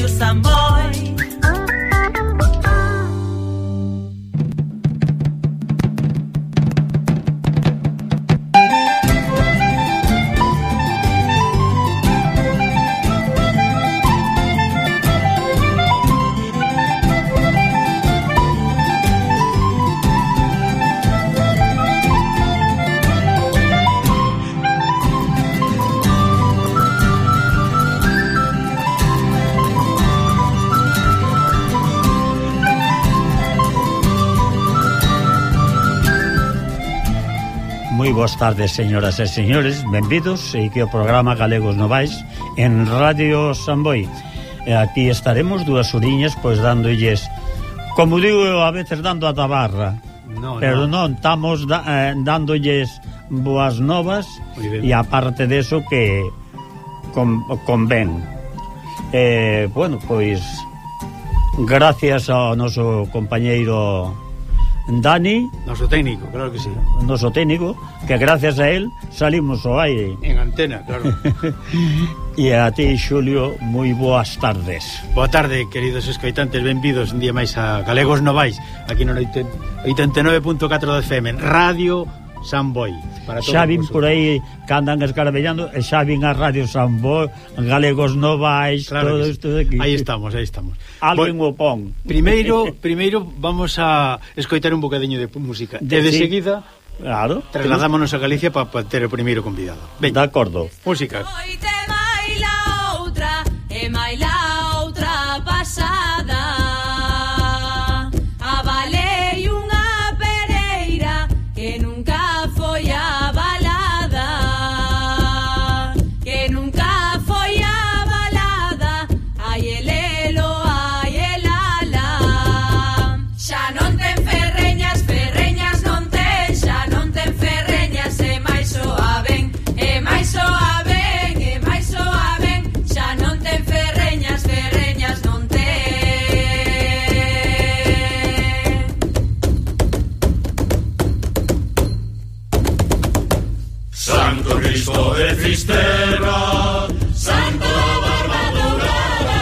Radio Samboy. Moi boas tardes, señoras e señores, benvidos aquí ao programa Galegos Novais en Radio Samboy. E aquí estaremos 2 horiñas, pois dándolles, como digo eu, a veces dando a tabarra, pero non, estamos dándolles boas novas e aparte deso que convén. Bueno, pois gracias ao noso compañeiro Dani, noso técnico, claro que sí. Noso técnico, que gracias a él salimos ao aire. En antena, claro. E a ti, Xulio, moi boas tardes. Boa tarde, queridos escoitantes, benvidos un día máis a Galegos Novais, aquí no 89.4 de FM, Radio Samboy. Xa vin por aí que andan escarabellando, e xa vin a Radio Samboy, Galegos Novais, claro, todo isto de aquí. Aí estamos, aí estamos. Alguén o pon. Primeiro vamos a escoitar un bocadiño de música. E de seguida, claro, trasladámonos a Galicia para ter o primeiro convidado. De acordo. Música. E mai la outra pasada avalei unha pereira que nunca foi avalada, que nunca foi avalada. Ai elelo, ai elala. Xa non ten ferreñas, ferreñas non ten. Xa non ten ferreñas, e máis soa ben, e máis soa ben, e máis soa ben. Xa non ten ferreñas, ferreñas non ten. Santo Cristo de Fisterra, Santo da Barba Dourada.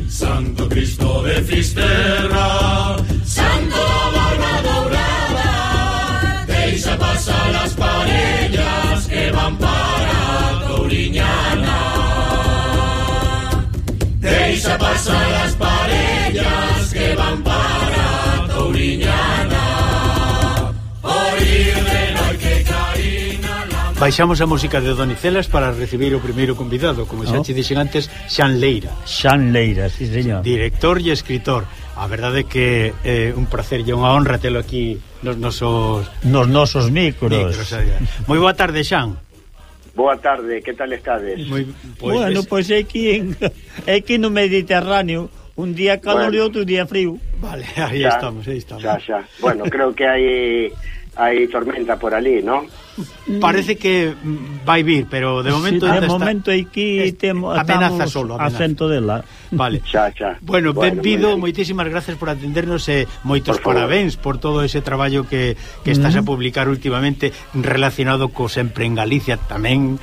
Santo Cristo de Fisterra, Santo da Barba Dourada. Deixa pasar las parellas que van para Touriñana. Deixa pasar las parellas que van para Touriñana. Por ir de noite que carina la... Baixamos a música de Donicelas para recibir o primeiro convidado, como xa te dixen antes, Xan Leira. Xan Leira, sí, señor. Director e escritor. A verdade é que é un placer e unha honra telo aquí nos nosos micros. Moi boa tarde, Xan. Boa tarde, que tal estades? Bueno, pois aquí no Mediterráneo, un día calor e outro día frío. Vale, aí estamos. Xa. Bueno, creo que hai tormenta por ali, ¿no? Parece que vai vir, pero de momento sí, de momento aquí amenaza solo, acento dela. Vale. Xa. Bueno, benvido, moitísimas gracias por atendernos e moitos parabéns por todo ese traballo que estás a publicar últimamente relacionado co Sempre en Galicia tamén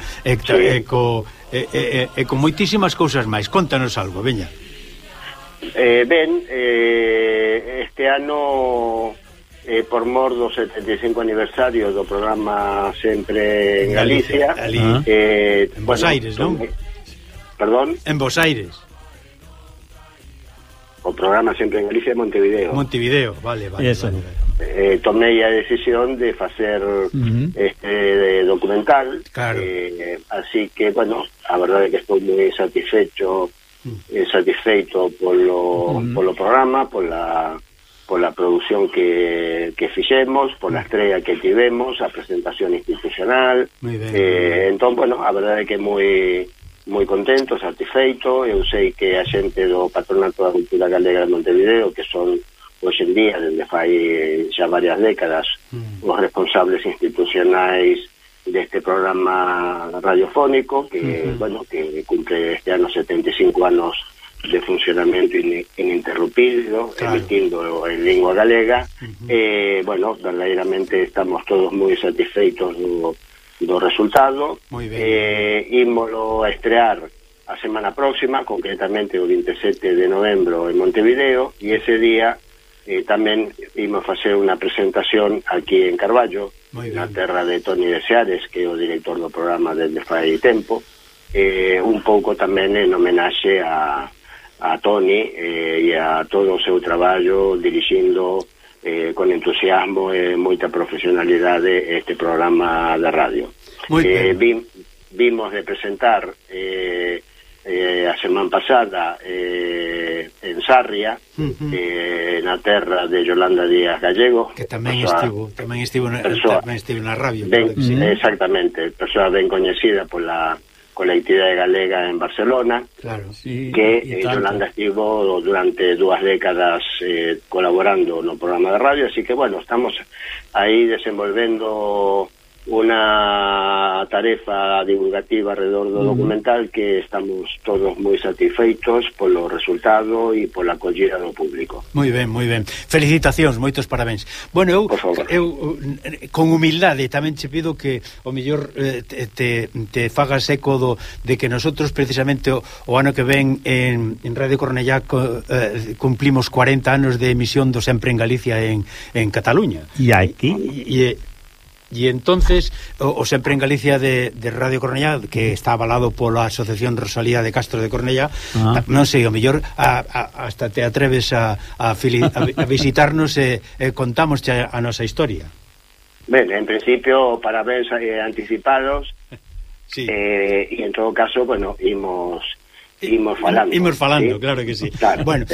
con moitísimas cousas máis. Contanos algo, veña. Este ano por mor do 75 aniversario do programa Sempre en Galicia, en Bos Aires, non? Perdón? En Bos Aires. O programa Sempre en Galicia de Montevideo. Vale. Tomei a decisión de facer este documental, claro. Así que, bueno, a verdade é que estou moi satisfeito polo programa, pola produción que fixemos, pola estrella que tivemos, a presentación institucional. Entón, bueno, a verdade é que moi contento, satisfeito. Eu sei que a xente do Patronato da Cultura Galega de Montevideo, que son hoxe en día, desde fai xa varias décadas, os responsables institucionais deste programa radiofónico que, bueno, que cumple este ano 75 anos de funcionamento ininterrumpido, claro, emitindo en lingua galega. Bueno, verdadeiramente estamos todos moi satisfeitos do resultado. Ímolo a estrear a semana próxima, concretamente o 27 de novembro en Montevideo, e ese día tamén imos facer unha presentación aquí en Carballo, na terra de Toni de Seares, que é o director do programa desde fai tempo, un pouco tamén en homenaxe a Toni e a todo o seu traballo dirixindo con entusiasmo e moita profesionalidade este programa de radio. Vimos de presentar a semana pasada en Sarria, na terra de Yolanda Díaz Gallego, que tamén estivo na radio, exactamente, persoa ben coñecida pola colectividade galega en Barcelona, que Yolanda estivo durante 2 décadas colaborando no programa de radio, así que bueno, estamos aí desenvolvendo unha tarefa divulgativa alrededor do documental que estamos todos moi satisfeitos polo resultado e pola acollida do público. Moi ben, moi ben. Felicitacións, moitos parabéns. Bueno, eu con humildade tamén che pido que o mellor te fagas eco de que nosotros precisamente o ano que ven en Radio Cornellá cumplimos 40 anos de emisión do Sempre en Galicia en Cataluña. E aquí? E entonces o Sempre en Galicia de Radio Cornellá, que está avalado pola Asociación Rosalía de Castro de Cornellá, non sei, o mellor hasta te atreves a visitarnos e contamos a nosa historia. Ben, en principio parabéns anticipados, e en todo caso, bueno, imos falando, ¿sí? Claro que sí. Claro, bueno,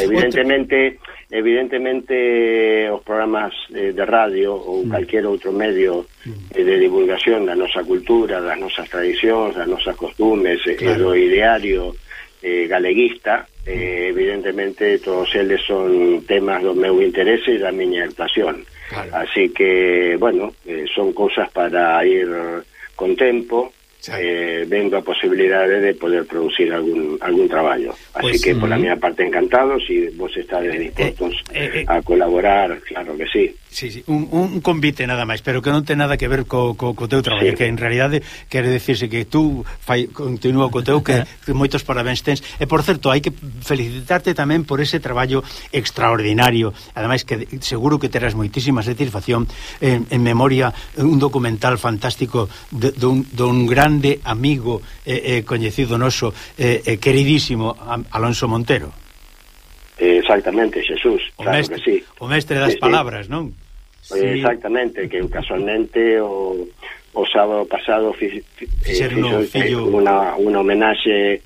evidentemente os programas de radio ou calquer outro medio de divulgación da nosa cultura, das nosas tradicións, das nosas costumes, do ideario galeguista, evidentemente todos eles son temas do meu interese e da miña actuación. Así que, bueno, son cousas para ir con tempo, vendo a posibilidade de poder producir algún traballo. Así que, por la miña parte, encantado. Si vos estades dispostos a colaborar, claro que sí. Sí, un convite nada máis, pero que non ten nada que ver co teu traballo, que en realidade quere decirse que tú continúa co teu, que moitos parabéns tens. E, por certo, hai que felicitarte tamén por ese traballo extraordinario, ademais que seguro que terás moitísima satisfacción en memoria un documental fantástico dun grande amigo coñecido noso, queridísimo Alonso Montero. Exactamente, Jesús, claro que sí. O mestre das palabras, non? Exactamente, que casualmente o sábado pasado fixeron unha homenaxe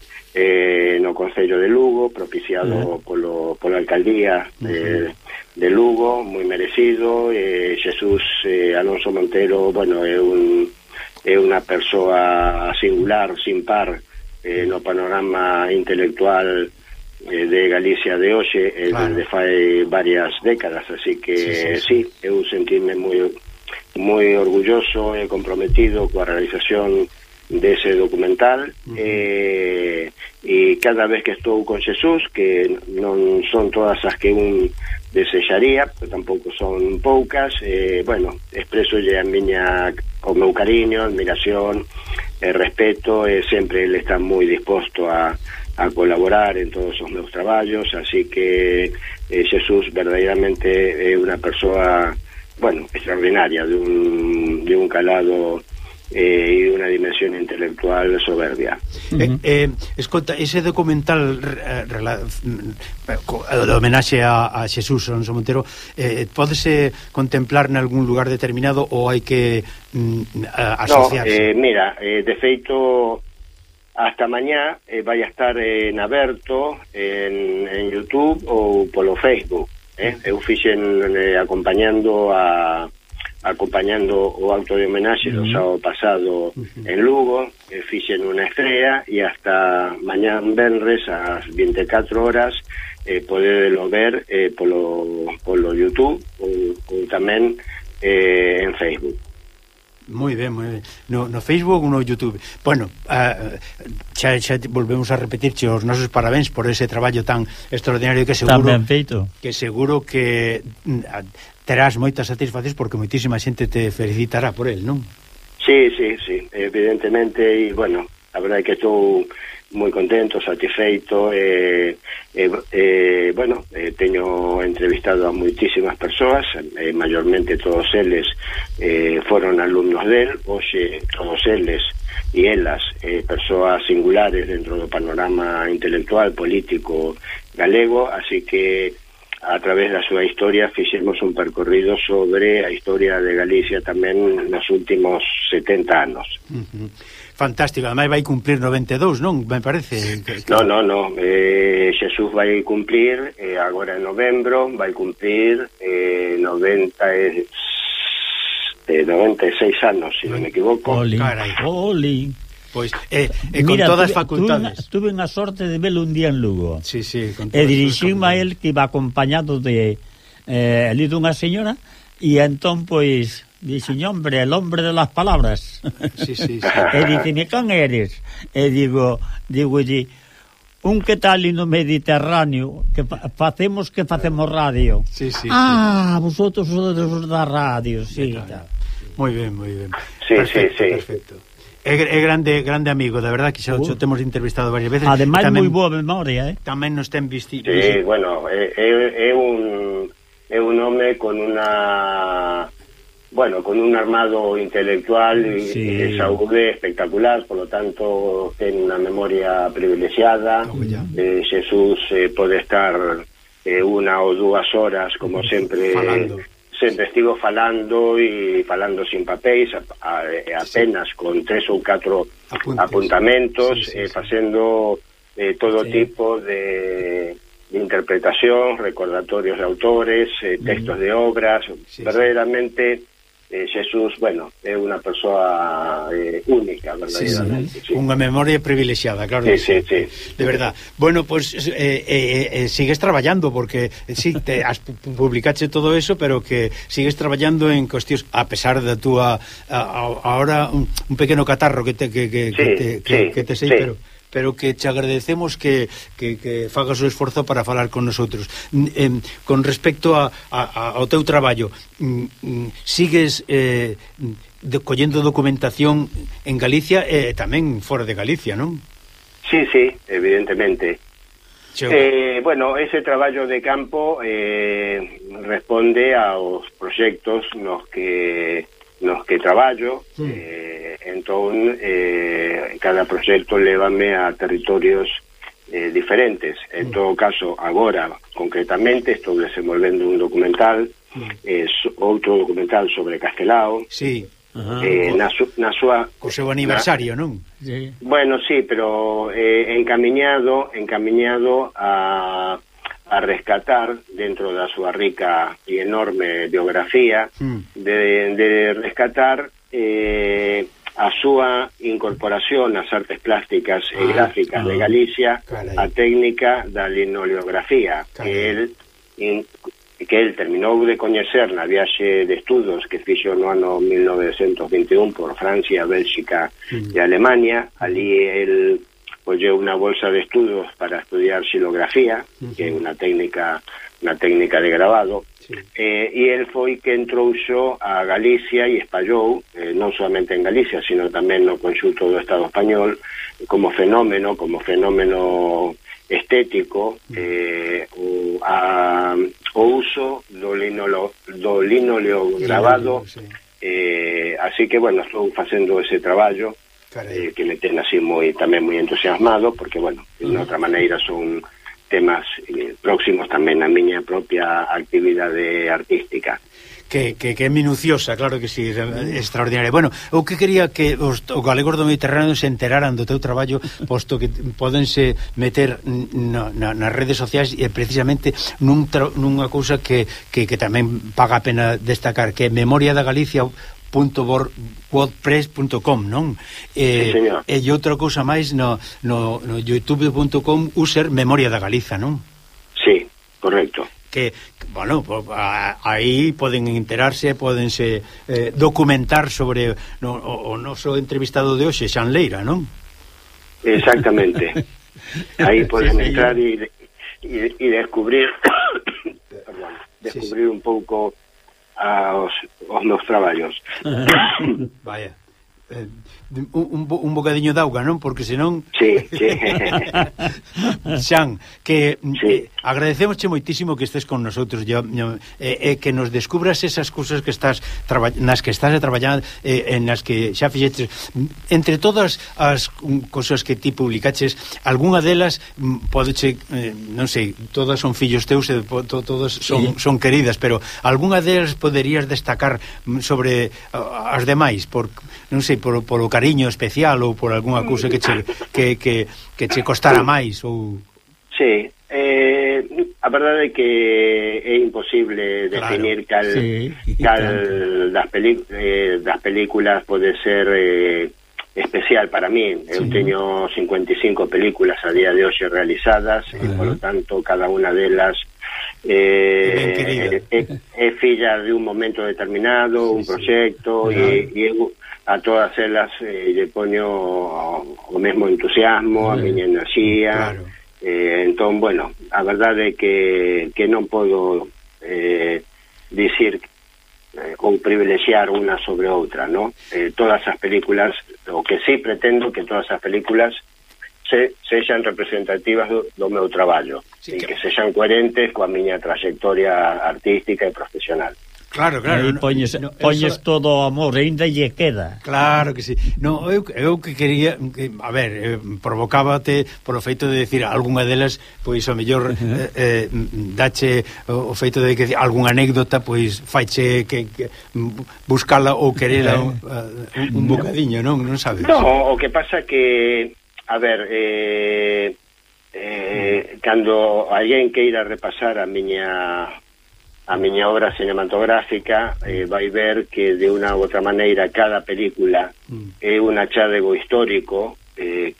no Concello de Lugo, propiciado pola alcaldía de Lugo, moi merecido. Jesús Alonso Montero, bueno, é unha persoa singular, sin par no panorama intelectual de Galicia de hoxe, desde fai varias décadas, así que sí, eu sentime moi orgulloso e comprometido coa realización dese documental, e cada vez que estou con Jesús, que non son todas as que un desexaría, pero tampouco son poucas, bueno, expresolle o meu cariño, admiración, respeto, e sempre ele está moi disposto a colaborar en todos os meus traballos, así que Jesús verdadeiramente é unha persoa, bueno, extraordinaria, de un calado e unha dimensión intelectual soberbia. Escolta, ese documental de homenaxe a Jesús Alonso Montero, pódese contemplar en algún lugar determinado ou hai que asociarse? No, mira, de feito, hasta mañá vai a estar en aberto en YouTube ou polo Facebook. Eu fixen acompañando o acto de homenaxe do sábado pasado en Lugo, fixen unha estrea, e hasta mañá venres ás 24 horas podedelo ver polo YouTube ou tamén en Facebook. Moi ben, moi ben. No Facebook ou no YouTube. Bueno, xa volvemos a repetirche os nosos parabéns por ese traballo tan extraordinario que seguro que terás moitas satisfaccións, porque moitísima xente te felicitará por el, non? Sí, evidentemente, e bueno, a verdade é que estou moi contento, satisfeito, bueno, teño entrevistado a moitísimas persoas, maiormente todos eles foron alumnos del, hoxe todos eles e elas, persoas singulares dentro do panorama intelectual, político galego, así que a través da súa historia fixemos un percorrido sobre a historia de Galicia tamén nos últimos 70 anos. Fantástico, ademais vai cumplir 92, non? Me parece No, Xesús vai cumplir agora en novembro, vai cumplir 96 anos, se non me equivoco. Oli. Pois, con todas as facultades. Tuve unha sorte de velo un día en Lugo. Sí, con e dirixime a él que iba acompañado de ali dunha señora, e entón, pois, dixen, hombre, el hombre de las palabras. Sí. E diceme, can eres? E digo, un que tal no Mediterráneo, que facemos radio. Sí. Vosotros sodes da radio, sí. Moi ben. Sí. Perfecto. É grande amigo, de verdad, que xa o temos entrevistado varias veces. Ademais, moi boa memoria, Tamén nos ten visto. Sí, bueno, é un home con un armado intelectual e saúde espectacular, por lo tanto ten unha memoria privilexiada. Xesús pode estar 1 ou 2 horas, como sempre estivo falando sin papéis, apenas con 3 ou 4 apuntamentos, facendo todo tipo de interpretación, recordatorios de autores, textos de obras. Verdadeiramente Xesús, bueno, é unha persoa única, verdadeiramente. Unha memoria privilexiada, claro. Sí. De verdad. Bueno, pues sigues traballando, porque has publicache todo eso, pero que sigues traballando en cuestións, a pesar da túa ahora un pequeno catarro que te sei, pero que te agradecemos que fagas o esforzo para falar con nosotros. Con respecto ao teu traballo, sigues collendo documentación en Galicia e tamén fora de Galicia, non? Sí, evidentemente. Bueno, ese traballo de campo responde aos proxectos nos que traballo. Entón, cada proxecto lévame a territorios diferentes. En todo caso, agora, concretamente, estou desenvolvendo un documental, outro documental sobre Castelao. Sí. Na súa... Co seu aniversario, non? Sí. Bueno, sí, pero encamiñado a rescatar, dentro da súa rica e enorme biografía, de rescatar a súa incorporación ás artes plásticas e gráficas de Galicia, a técnica da linoleografía, que el terminou de coñecer na viaxe de estudos que fixo no ano 1921 por Francia, Bélxica e Alemania. Ali el colleu unha bolsa de estudos para estudiar xilografía, que é unha técnica de grabado, e el foi que entrouxo a Galicia e espallou, non solamente en Galicia, sino tamén no conxunto do Estado español, como fenómeno estético, o uso do linoleo grabado. Así que, bueno, estou facendo ese traballo, que me ten así tamén moi entusiasmado, porque, bueno, de outra maneira son temas próximos tamén a miña propia actividade artística. Que é minuciosa, claro que sí, extraordinaria. Bueno, eu que quería que os galegos do Mediterráneo se enteraran do teu traballo, posto que podense meter nas redes sociais, e precisamente nunha cousa que tamén paga a pena destacar, que é Memoria da Galicia .wordpress.com, non? Sí, e outra cousa máis no youtube.com user Memoria da Galiza, non? Sí, correcto. Que, bueno, aí poden enterarse, podense documentar sobre o noso entrevistado de hoxe, Xan Leira, non? Exactamente. Aí poden entrar e descubrir un pouco aos meus traballos. Vaya. un bocadiño de auga, non? Porque senón... Sí. Xan, que agradecemosche moitísimo que estés con nosotros que nos descubras esas cousas que estás nas que estás traballando, en nas que xa fixetes. Entre todas as cousas que ti publicaches, algunha delas podeche, non sei, todas son fillos teus e todas son queridas, pero algunha delas poderías destacar sobre as demais, por non sei, polo cariño especial ou por algunha cousa que che costara máis ou... Sí, a verdade é que é imposible definir cal das películas pode ser especial para mí. Eu teño 55 películas a día de hoxe realizadas e, polo tanto, cada unha delas é filla de un momento determinado, un proxecto, e eu a todas elas lle poño o mesmo entusiasmo, a miña enerxía. Entón, bueno, a verdade é que non podo dicir ou privilexiar unha sobre outra, ¿no? Todas as películas, o que sí pretendo que todas as películas sexan representativas do meu traballo, e que sexan coherentes coa miña trayectoria artística e profesional. Claro. Aí poñes todo o amor, ainda lle queda. Claro que sí. No, eu que quería, a ver, provocábate por o feito de decir algunha delas, pois ao mellor dache o feito de que algunha anécdota, pois faiche que buscala ou querela un bocadiño, non sabes? No, o que pasa que, a ver, cando alguén queira repasar a miña obra cinematográfica, vai ver que de unha ou outra maneira cada película é un achádego histórico que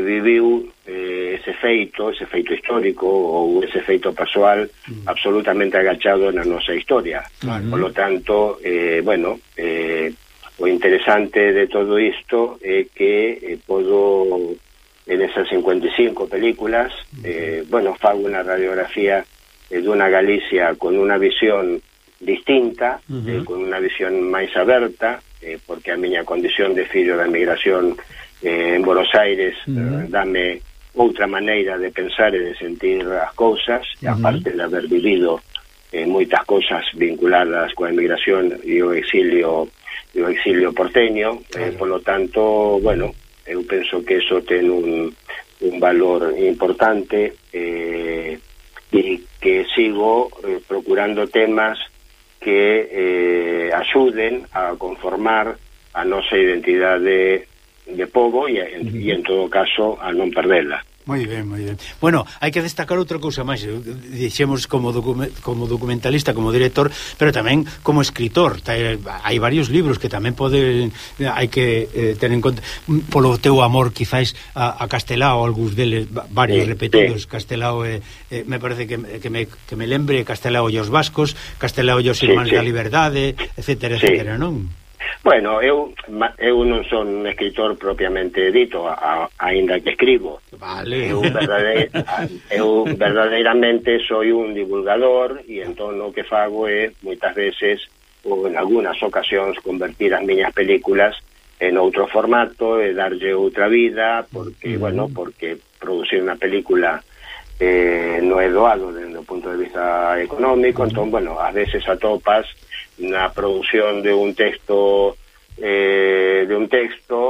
viviu ese feito histórico ou ese feito persoal absolutamente agachado na nosa historia. Por lo tanto, o interesante de todo isto é que podo, en esas 55 películas, fago unha radiografía dunha Galicia con unha visión distinta, con unha visión máis aberta, porque a miña condición de fillo da emigración en Buenos Aires dame outra maneira de pensar e de sentir as cousas, aparte de haber vivido moitas cousas vinculadas coa emigración e o exilio porteño. Por lo tanto, eu penso que eso ten un valor importante, e que sigo procurando temas que axuden a conformar a nosa identidade de pobo e en todo caso a non perdela. Moi ben. Bueno, hai que destacar outra cousa máis. Dixemos como documentalista, como director, pero tamén como escritor. Hai varios libros que tamén hai que ter en conta polo teu amor, quizás a Castelao, algúns deles, varios repetidos. Castelao, me parece que me lembre Castelao e os vascos, Castelao e os irmáns da liberdade, etcétera, non? Bueno, eu non son un escritor propiamente dito, aínda que escribo. Vale. Eu verdadeiramente soy un divulgador, e entón o que fago é moitas veces, ou en algunhas ocasións, convertir as miñas películas en outro formato e darlle outra vida, porque porque producir unha película non é doado desde o punto de vista económico. Entón, ás veces atopas na produción de un texto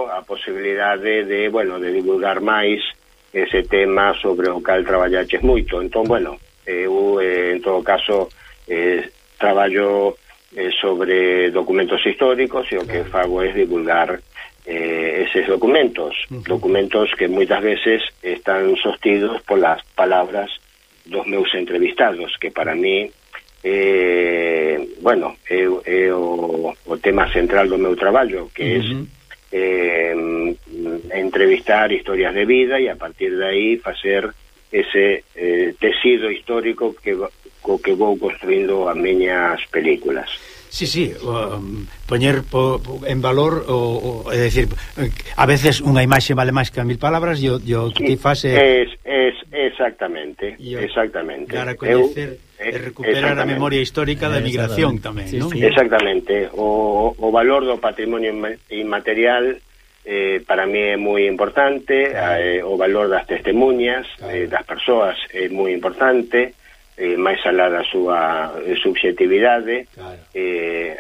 a posibilidade de divulgar máis ese tema sobre o cal traballaches moito. Entón, eu en todo caso traballo sobre documentos históricos, e o que fago é divulgar eses documentos que moitas veces están sostidos polas palabras dos meus entrevistados, que para mí é o tema central do meu traballo, que é entrevistar historias de vida e a partir de aí facer ese tecido histórico que vou construindo as miñas películas. Sí, poñer en valor, é dicir, a veces unha imaxe vale máis que 1000 palabras, e o que ti faz exactamente. Dar a coñecer recuperar a memoria histórica da migración tamén, non? Sí. Exactamente. O valor do patrimonio inmaterial para mí é moi importante, o valor das testemunhas, das persoas é moi importante, máis alá da súa subxetividade,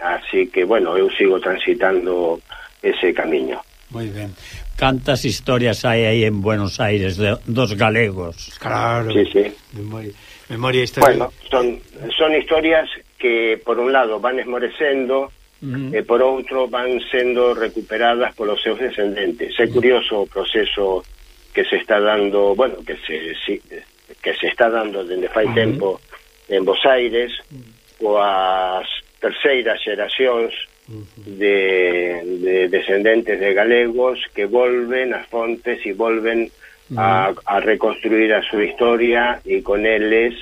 así que, bueno, eu sigo transitando ese camiño. Moi ben. Cantas historias hai aí en Buenos Aires dos galegos? Claro. Sí. Memoria histórica. Bueno, son historias que por un lado van esmorecendo e por outro van sendo recuperadas polos seus descendentes. É curioso o proceso que se está dando, bueno, que se está dando dende fai tempo en Bos Aires, coas terceiras xeracións de descendentes de galegos que volven ás fontes e volven a reconstruir a súa historia e con eles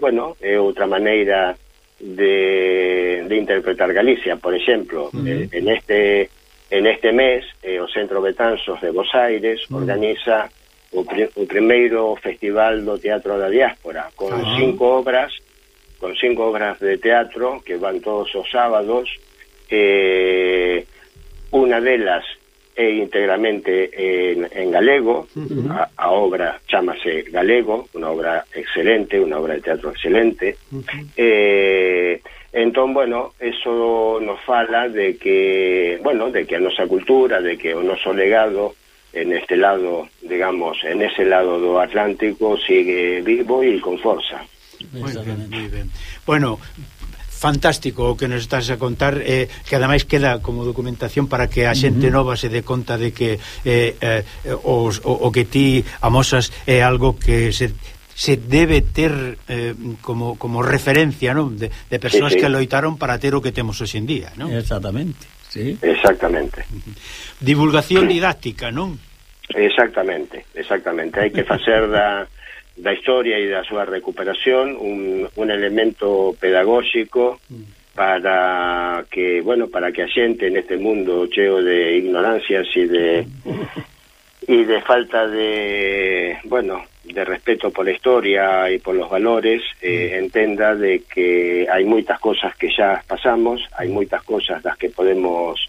bueno, é outra maneira de interpretar Galicia. Por exemplo, en este mes o Centro Betanzos de Bos Aires organiza o primeiro festival do Teatro da Diáspora con 5 obras de teatro que van todos os sábados. Unha delas é íntegramente en galego. A obra chamase Galego, unha obra excelente, unha obra de teatro excelente. Entón, bueno, eso nos fala de que a nosa cultura, de que o noso legado en este lado, digamos, en ese lado do Atlántico sigue vivo e con forza. Moi ben. Bueno, fantástico o que nos estás a contar, que ademais queda como documentación para que a xente nova se dé conta de que o que ti amosas é algo que se debe ter como referencia, non? De persoas que loitaron para ter o que temos hoxe en día, non? Exactamente, sí. Exactamente. Divulgación didáctica, non? Exactamente. Hai que facer da historia e da súa recuperación un elemento pedagóxico para que a xente neste mundo cheo de ignorancias e de falta de respeto pola historia e polos valores, entenda de que hai moitas cosas que xa pasamos, hai moitas cosas das que podemos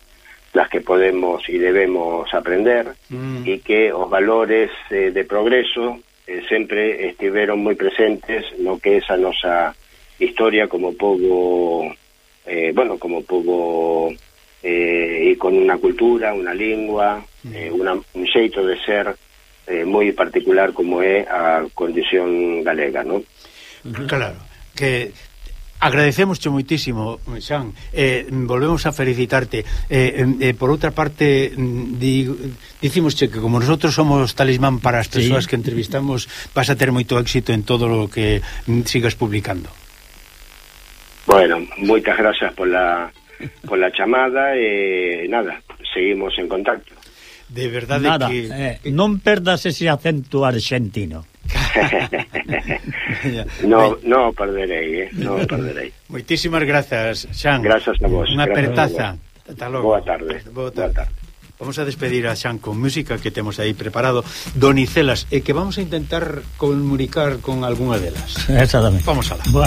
e debemos aprender, e que os valores de progreso sempre estiveron moi presentes no que é a nosa historia como pobo, e con unha cultura, unha lingua, un xeito de ser moi particular como é a condición galega, non? Claro, que agradecémosche moitísimo, Xan, volvemos a felicitarte. Por outra parte, dicimosche que como nosotros somos talismán para as persoas que entrevistamos, vas a ter moito éxito en todo o que sigas publicando. Bueno, moitas gracias pola chamada e nada, seguimos en contacto. De verdade que non perdas ese acento argentino. No perderei. Moitísimas grazas, Xan. Gracias a vos. Unha apertaza. Ata logo. Boa tarde. Vamos a despedir a Xan con música que temos aí preparado, Donicelas, e que vamos a intentar comunicar con algunha delas. Exactamente. Vamos alá. Boa.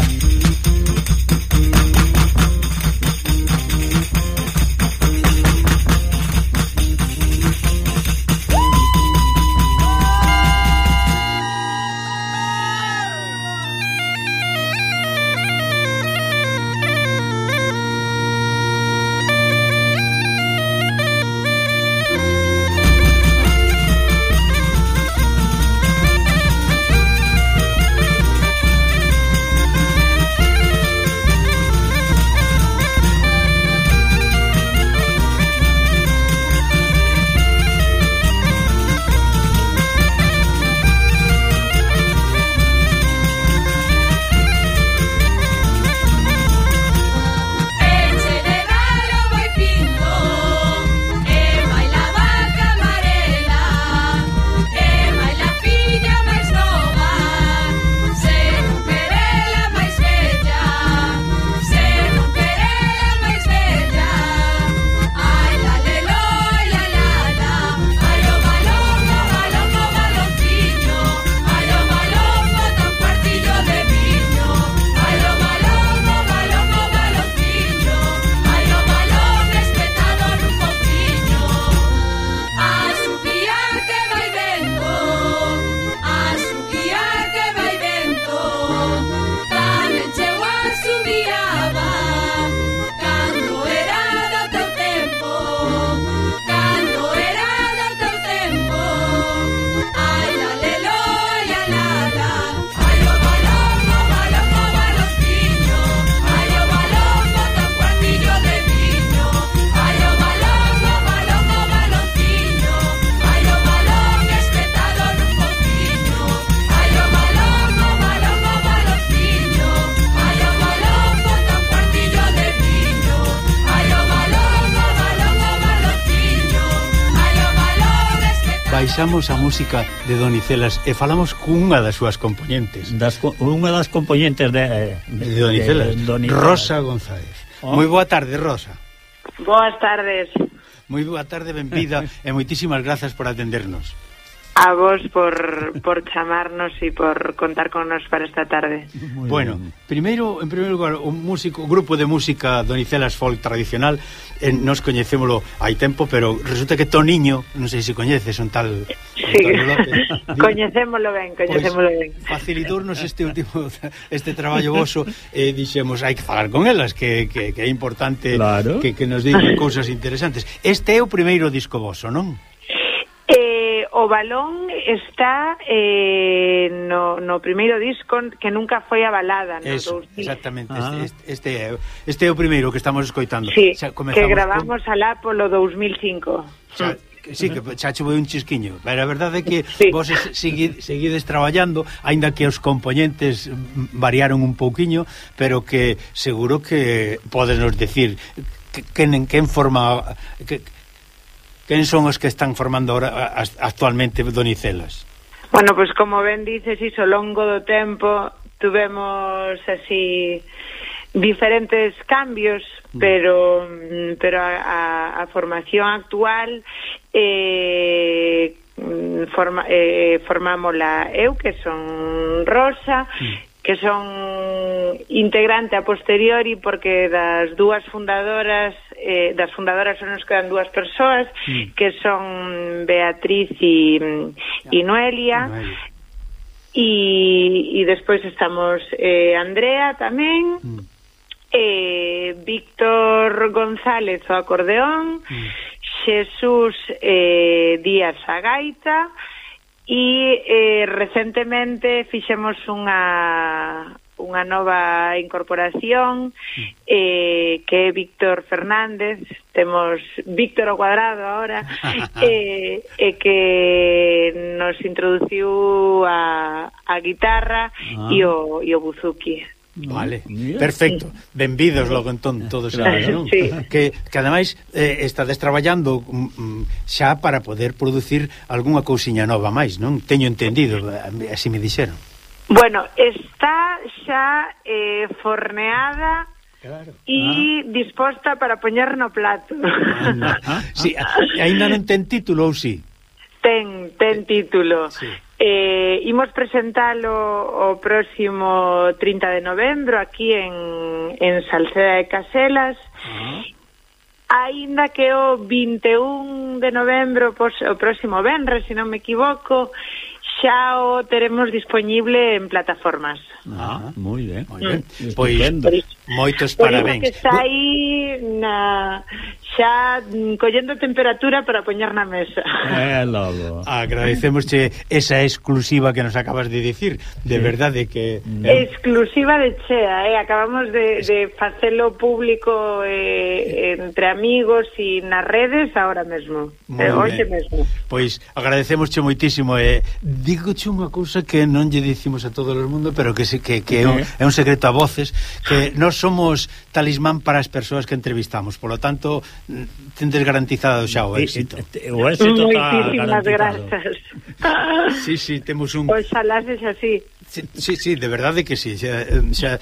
baixamos a música de Donicelas e falamos cunha das súas componentes. Unha das componentes de Donicelas, Rosa González. Moi boa tarde, Rosa. Boas tardes. Moi boa tarde, benvida e moitísimas grazas por atendernos. A vos por chamarnos e por contar con nos para esta tarde. Bueno, en primeiro lugar, o grupo de música Donicelas Folk tradicional, nos coñecémolo hai tempo, pero resulta que Toniño, non sei se coñeces, un tal sí. Coñecémolo ben. Facilitornos este traballo voso, dixemos, hai que falar con elas, que é importante, claro, que nos digan cousas interesantes. Este é o primeiro disco voso, non? O balón está no primeiro disco que nunca foi a balada, no? Eso, exactamente. Este é o primeiro que estamos escoitando. Sí, que gravamos alá polo 2005. Sí, que xa chuve un chisquiño. Pero a verdade é que sí, vos seguides traballando, aínda que os componentes variaron un pouquiño, pero que seguro que podenos decir quen forma... Quen son os que están formando ahora actualmente Donicelas? Bueno, pois como ben dices, iso, ao longo do tempo tuvemos así diferentes cambios, pero a formación actual formámola eu, que son Rosa, que son integrante a posteriori, porque das fundadoras só nos quedan dúas persoas, que son Beatriz e Noelia, e despois estamos Andrea tamén, Víctor González o acordeón, Xesús Díaz a gaita, e recentemente fixemos unha nova incorporación que é Víctor Fernández. Temos Víctor ao cuadrado agora, e que nos introduciu a guitarra e o buzuki. Vale, perfecto. Benvidos logo entón todos eles, non? Sí. Que ademais estades traballando xa para poder producir algunha cousiña nova máis, non? Teño entendido, así me dixeron. Bueno, está xa forneada, claro, e disposta para poñer no plato. Sí, aínda non ten título ou si? Ten título. Sí. Imos presentalo o próximo 30 de novembro aquí en Salceda de Caselas. Aínda que o 21 de novembro, o próximo venres, se non me equivoco, xa o teremos disponible en plataformas. Moi ben. Pois moitos parabéns. Que está aí xa collendo temperatura para poñer na mesa. Logo. Agradecemosche esa exclusiva que nos acabas de dicir. De verdade que... Exclusiva de chea, acabamos de facelo público entre amigos e nas redes ahora mesmo. Hoxe mesmo. Pois agradecemosche moitísimo. Dígoche unha cousa que non lle dicimos a todo o mundo, pero que é un secreto a voces, que nós somos talismán para as persoas que entrevistamos. Por lo tanto, tendes garantizado xa o éxito. O éxito está garantizado. Grazas. Sí, temos un... Oxalá sexa así. Sí, de verdade que sí. Xa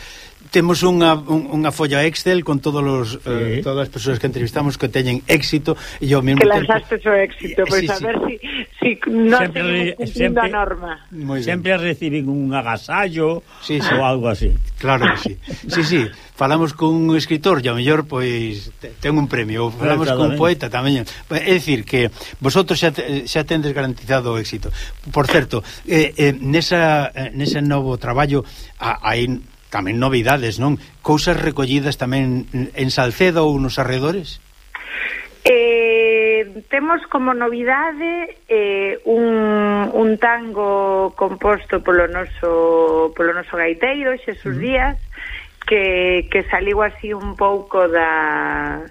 temos unha folla Excel con todas as persoas que entrevistamos que teñen éxito e ao mesmo tempo... Que lanzaste o éxito, pois a ver si non seguimos cumplindo a norma. Sempre reciben un agasallo ou algo así. Claro que sí. Falamos con un escritor e ao mellor pois ten un premio, ou falamos con un poeta tamén. É dicir que vosotros xa tendes garantizado o éxito. Por certo, nese novo traballo hai tamén novidades, non? Cousas recollidas tamén en Salceda ou nos arredores? Temos como novidade un tango composto polo noso gaiteiro Xesús Díaz, que saliu así un pouco da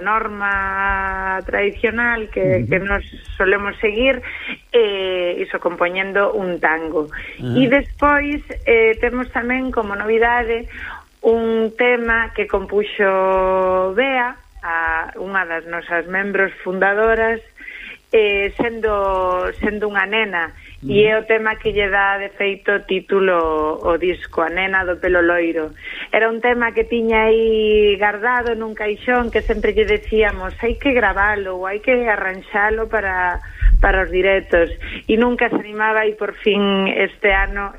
norma tradicional que nos solemos seguir, iso compoñendo un tango. E despois temos tamén como novidade un tema que compuxo Bea, unha das nosas membros fundadoras, sendo unha nena, e é o tema que lle dá de feito título o disco, A nena do pelo loiro. Era un tema que tiña aí guardado nun caixón, que sempre lle decíamos hai que gravalo ou hai que arranxalo para os directos, e nunca se animaba, e por fin este ano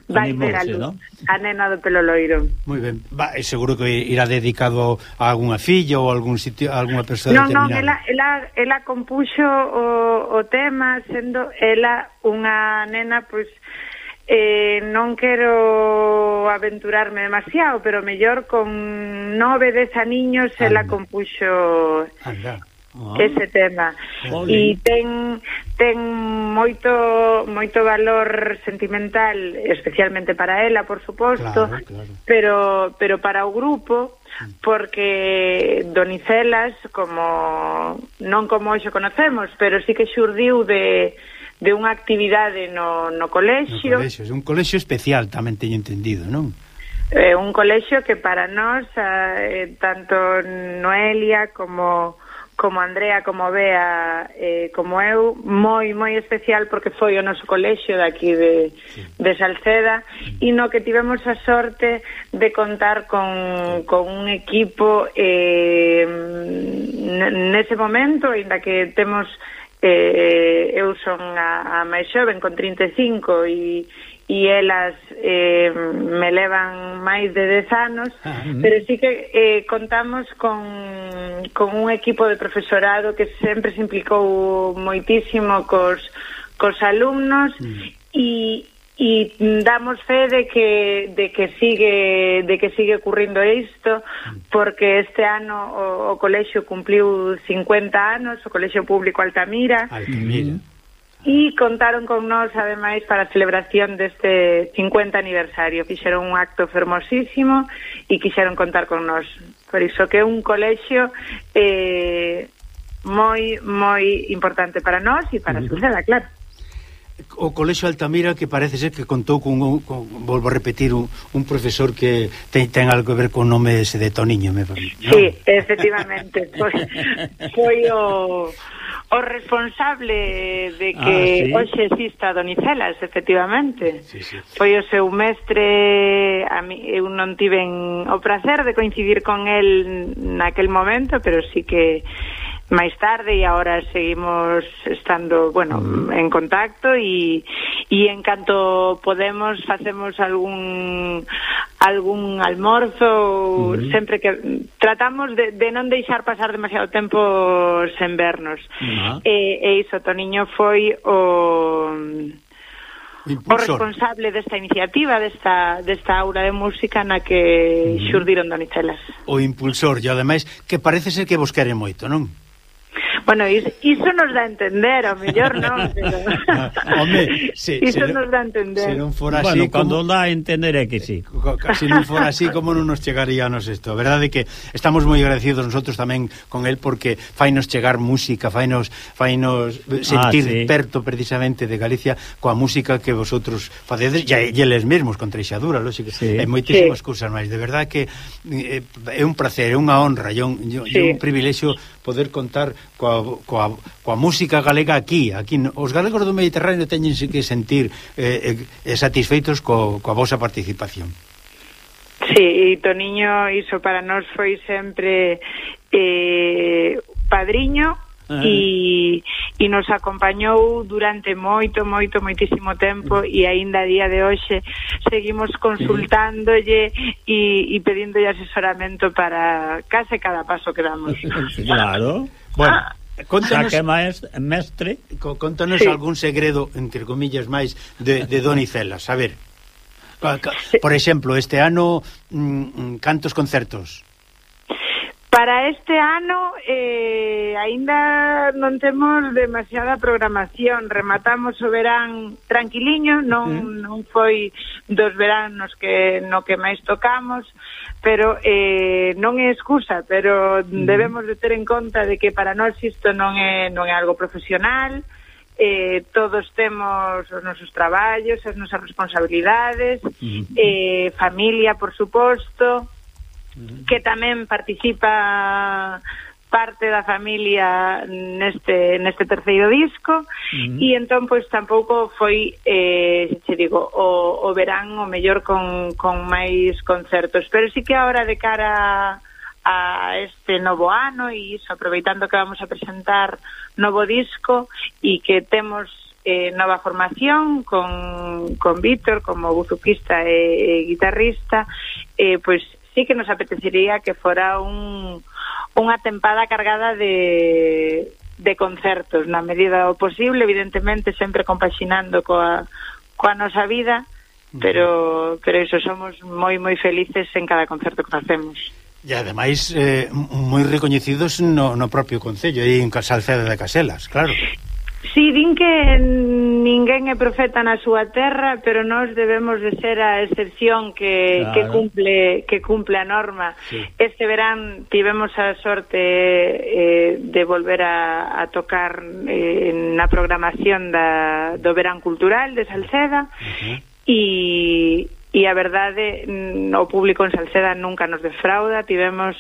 vai ver a luz, ¿no? A nena do pelo loiro. Moi ben. Seguro que irá dedicado a algunha filla ou a algún sitio, a algunha persoa determinada. Non, ela compuxo o tema, sendo ela unha nena, pois non quero aventurarme demasiado, pero mellor con 9-10 aniños ela compuxo ese tema. E ten moito valor sentimental, especialmente para ela, por suposto, claro. Pero para o grupo, porque Donicelas, non como hoxe conocemos, pero sí que xurdiu de unha actividade no colexio. É un colexio especial, tamén teño entendido, non? Un colexio que para nós, tanto Noelia como Andrea, como Bea, como eu, moi especial, porque foi o noso colexio daqui de Salceda, e no que tivemos a sorte de contar con un equipo nese momento, ainda que temos eu son a máis xoven con 35 e elas me levan máis de 10 anos, pero sí que contamos con un equipo de profesorado que sempre se implicou moitísimo cos alumnos, e damos fe de que sigue ocurrindo isto, porque este ano o colexio cumpliu 50 anos, o colexio público Altamira. E contaron con nós, ademais, para a celebración deste 50 aniversario. Fixeron un acto fermosísimo e quixeron contar con nós. Por iso que é un colexio moi importante para nós e para a Salceda, claro. O colexio Altamira, que parece ser que contou con volvo a repetir, un profesor que ten algo que ver con o nome ese de Toniño, me parece, ¿no? Sí, efectivamente. Foi o responsable de que hoxe exista Donicelas, efectivamente. Sí. Foi o seu mestre. Eu non tiven o placer de coincidir con el naquel momento, pero sí que máis tarde, e agora seguimos estando, en contacto, e en canto podemos facemos algún almorzo, sempre que tratamos de non deixar pasar demasiado tempo sen vernos. E iso, Toniño foi o responsable desta iniciativa, desta aula de música na que xurdiron Donicelas. O impulsor, e ademais que parece ser que vos quere moito, non? Bueno, iso nos dá a entender, ao mellor non, pero home, iso nos dá a entender. Se non fora así, cando dá a entender é que sí. Se non fora así, como non nos chegaríanos isto. A verdade é que estamos moi agradecidos nosotros tamén con el, porque fainos chegar música, fainos sentir perto precisamente de Galicia coa música que vosotros facedes, e eles mesmos con Treixadura, lógico, e moitísimas cousas máis. De verdade que é un placer, é unha honra, é un privilexio poder contar coa música galega aquí. Os galegos do Mediterráneo teñen que sentir satisfeitos coa vosa participación. Sí, e Toniño, iso para nós foi sempre padriño, e nos acompañou durante moitísimo tempo, e aínda a día de hoxe seguimos consultándolle e pedíndolle asesoramento para case cada paso que damos. Claro. Bueno, contanos, mestre, contanos algún segredo, entre comillas, máis de Donicelas. A ver, por exemplo, este ano cantos concertos? Para este ano aínda non temos demasiada programación. Rematamos o verán tranquiliño, non foi dos veranos no que máis tocamos, pero non é excusa, pero debemos de ter en conta de que para nós isto non é algo profesional. Todos temos os nosos traballos, as nosas responsabilidades, familia, por suposto, que tamén participa parte da familia neste terceiro disco, e entón pois tampouco foi che digo, o verán o mellor con máis concertos, pero sí que ahora de cara a este novo ano, e iso, aproveitando que vamos a presentar novo disco e que temos nova formación con Víctor como buzuquista e guitarrista, pois sí que nos apetecería que fora unha tempada cargada de concertos, na medida do posible, evidentemente sempre compaxinando coa nosa vida, pero iso, somos moi felices en cada concerto que facemos. E ademais moi recoñecidos no propio concello, aí en Salceda de Caselas, claro. Sí, din que ninguén é profeta na súa terra, pero nós debemos de ser a excepción que cumple a norma. Sí. Este verán tivemos a sorte de volver a tocar na programación do Verán Cultural de Salceda, e a verdade, o público en Salceda nunca nos defrauda, tivemos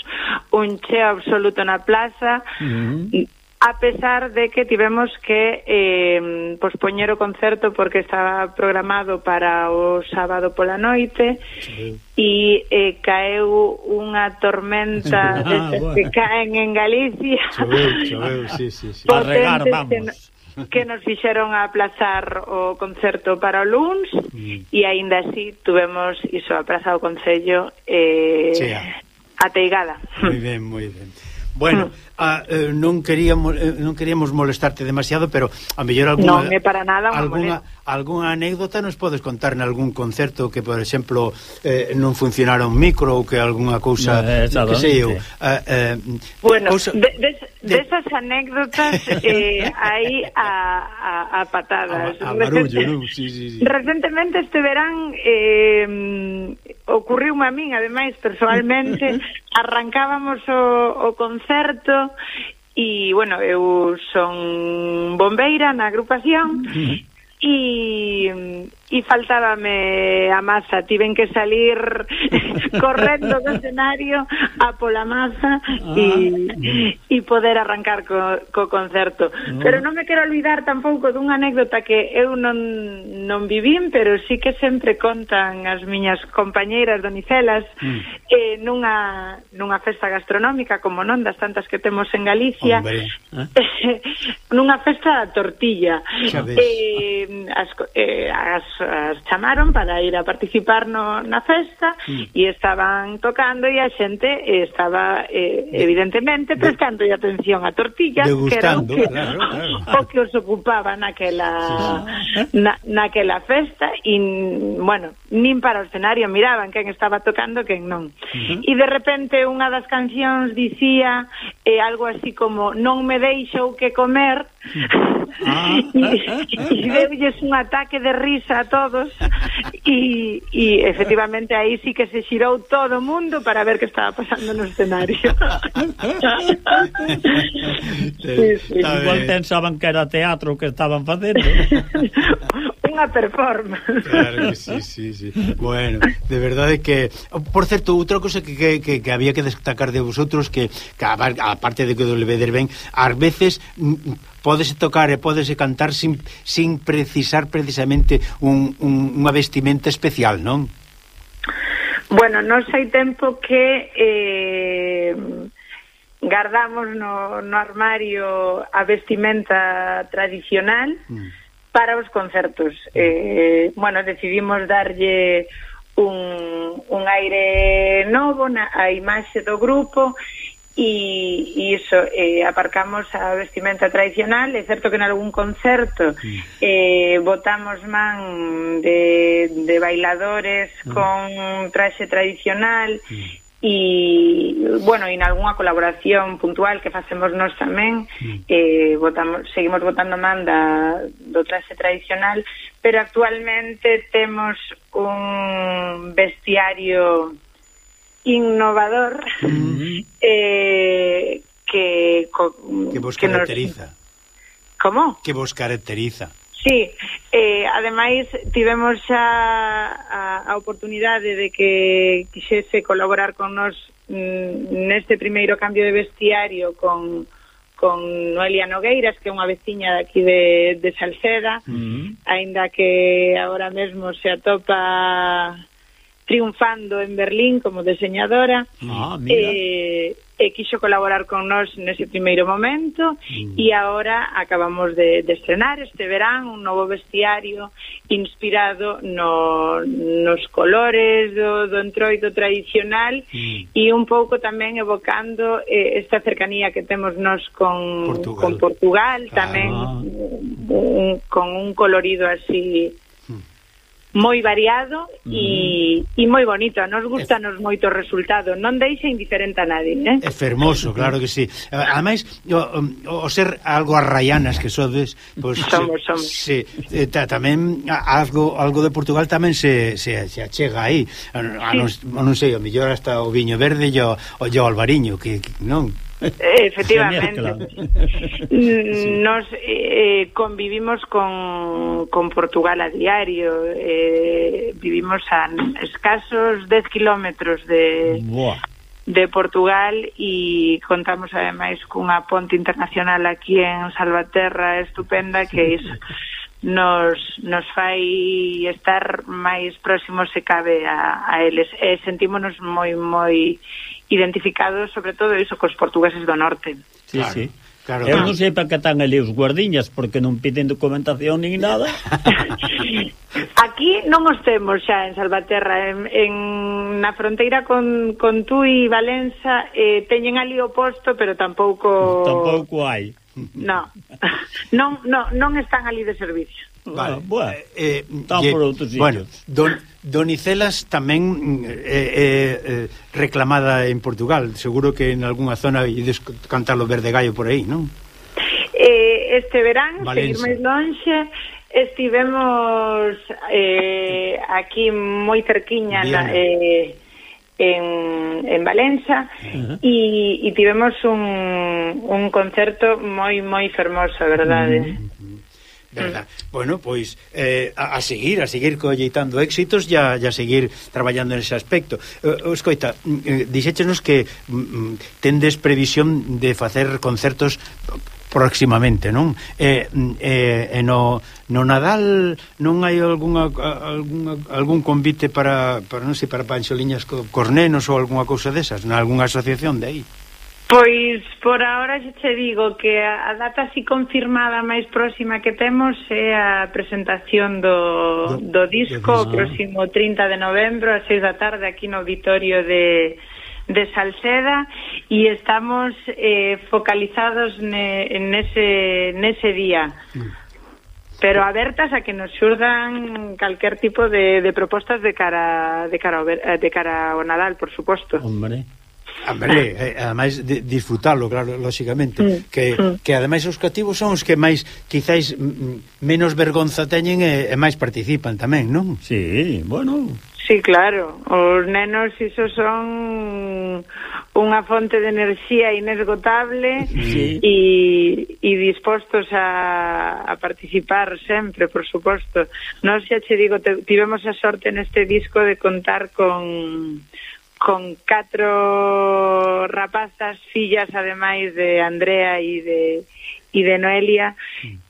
un cheo absoluto na plaza, a pesar de que tivemos que pospoñer o concerto porque estaba programado para o sábado pola noite, e caeu unha tormenta que caen en Galicia, choveu, sí. A regar, vamos, que nos fixeron aplazar o concerto para o luns, e aínda así tuvemos iso, aplazado o concello ateigada. Moi ben. Bueno, non queríamos molestarte demasiado, pero a mellor non é para nada algunha anécdota nos podes contar en algún concerto que, por exemplo, non funcionara un micro, ou que algunha cousa que sei eu. Bueno, desas anécdotas hai a patadas. A barullo, non? Sí. Recentemente este verán ocurriume a min, ademais, personalmente, arrancábamos o concerto, e, bueno, eu son bombeira na agrupación, e faltábame a masa, tiven que salir correndo do escenario a pola masa e poder arrancar co concerto. Pero non me quero olvidar tampouco dunha anécdota que eu non vivín, pero sí que sempre contan as miñas compañeiras donicelas nunha festa gastronómica, como non das tantas que temos en Galicia, nunha festa da tortilla. As chamaron para ir a participar na festa, e estaban tocando, e a xente estaba evidentemente prestando atención á tortilla, que era o que os ocupaba naquela festa, e, bueno, nin para o escenario miraban quen estaba tocando, quen non. E de repente unha das cancións dicía algo así como: non me deixou que comer, e deulles un ataque de risa a todos, e efectivamente aí sí que se xirou todo o mundo para ver que estaba pasando no escenario. Igual pensaban que era teatro que estaban facendo. Unha performance. Claro que sí. Bueno, de verdade que... Por certo, outra cosa que había que destacar de vosotros, que aparte de que do levedes ben, ás veces pódese tocar e pódese cantar sin precisar precisamente unha vestimenta especial, non? Bueno, non sei tempo que guardamos no armario a vestimenta tradicional para os concertos. Bueno, decidimos darlle un aire novo a imaxe do grupo, e iso, aparcamos a vestimenta tradicional. É certo que en algún concerto botamos man de bailadores con traxe tradicional, e, bueno, en algunha colaboración puntual que facemos nós tamén, seguimos botando man do traxe tradicional, pero actualmente temos un vestiario innovador que vos caracteriza. Como? Que vos caracteriza. Sí, ademais tivemos xa a oportunidade de que quixese colaborar con nós neste primeiro cambio de vestiario con Noelia Nogueiras, que é unha veciña daqui de Salceda, aínda que agora mesmo se atopa triunfando en Berlín como diseñadora, e quixo colaborar con nós nese primeiro momento, e agora acabamos de estrenar este verán un novo vestiario inspirado nos colores do entroido tradicional, e un pouco tamén evocando esta cercanía que temos nós con Portugal, tamén con un colorido así moi variado e moi bonito. Nos gustanos moito o resultado, non deixa indiferente a nadie, É fermoso, claro que sí. Ademais, o ser algo arraianas que sodes, pues, somos. Sí, tamén algo de Portugal tamén se achega aí. Non sei, o mellor hasta o viño verde e o albariño, que non... Efectivamente. Nos convivimos con Portugal a diario, vivimos a escasos 10 kilómetros de Portugal, e contamos ademais cunha ponte internacional aquí en Salvaterra estupenda, que iso nos fai estar máis próximos se cabe a eles, e sentímonos moi identificados, sobre todo iso, cos portugueses do norte. Sí, claro, sí. Claro. Eu non sei para que están ali os guardiñas, porque non piden documentación nin nada. Aquí non os temos xa en Salvaterra, na fronteira con Tui e Valenza, teñen ali o posto, pero tampouco hai. Non están ali de servicio. Vale. Están por outros sitios. Bueno, Donicelas tamén reclamada en Portugal. Seguro que en algunha zona ides cantar o Verde Gallo por aí, non? Este verán, seguir máis lonxe, estivemos aquí moi cerquiña en Valenza, e tivemos un concerto moi fermoso, a verdade. Verdad. Bueno, pois a seguir colleitando éxitos e a seguir traballando nese aspecto. Escoita, dixéchenos que tendes previsión de facer concertos próximamente, non? No Nadal non hai algún convite para non sei, para panxoliñas cos nenos ou algunha cousa desas, nalgunha asociación de aí? Pois por ahora xa te digo que a data así confirmada máis próxima que temos é a presentación do disco o próximo 30 de novembro a 6 da tarde aquí no auditorio de Salceda, e estamos focalizados nese día, pero abertas a que nos xurdan calquer tipo de propostas de cara ao Nadal, por suposto. Ademais disfrutalo, claro, lóxicamente, que ademais os cativos son os que máis, quizáis, menos vergonza teñen e máis participan tamén, non? Sí, bueno. Sí, claro, os nenos iso son unha fonte de enerxía inesgotable, e dispostos a participar sempre, por suposto. Nós xa che digo, tivemos a sorte neste disco de contar con 4 rapazas, fillas ademais de Andrea e de Noelia,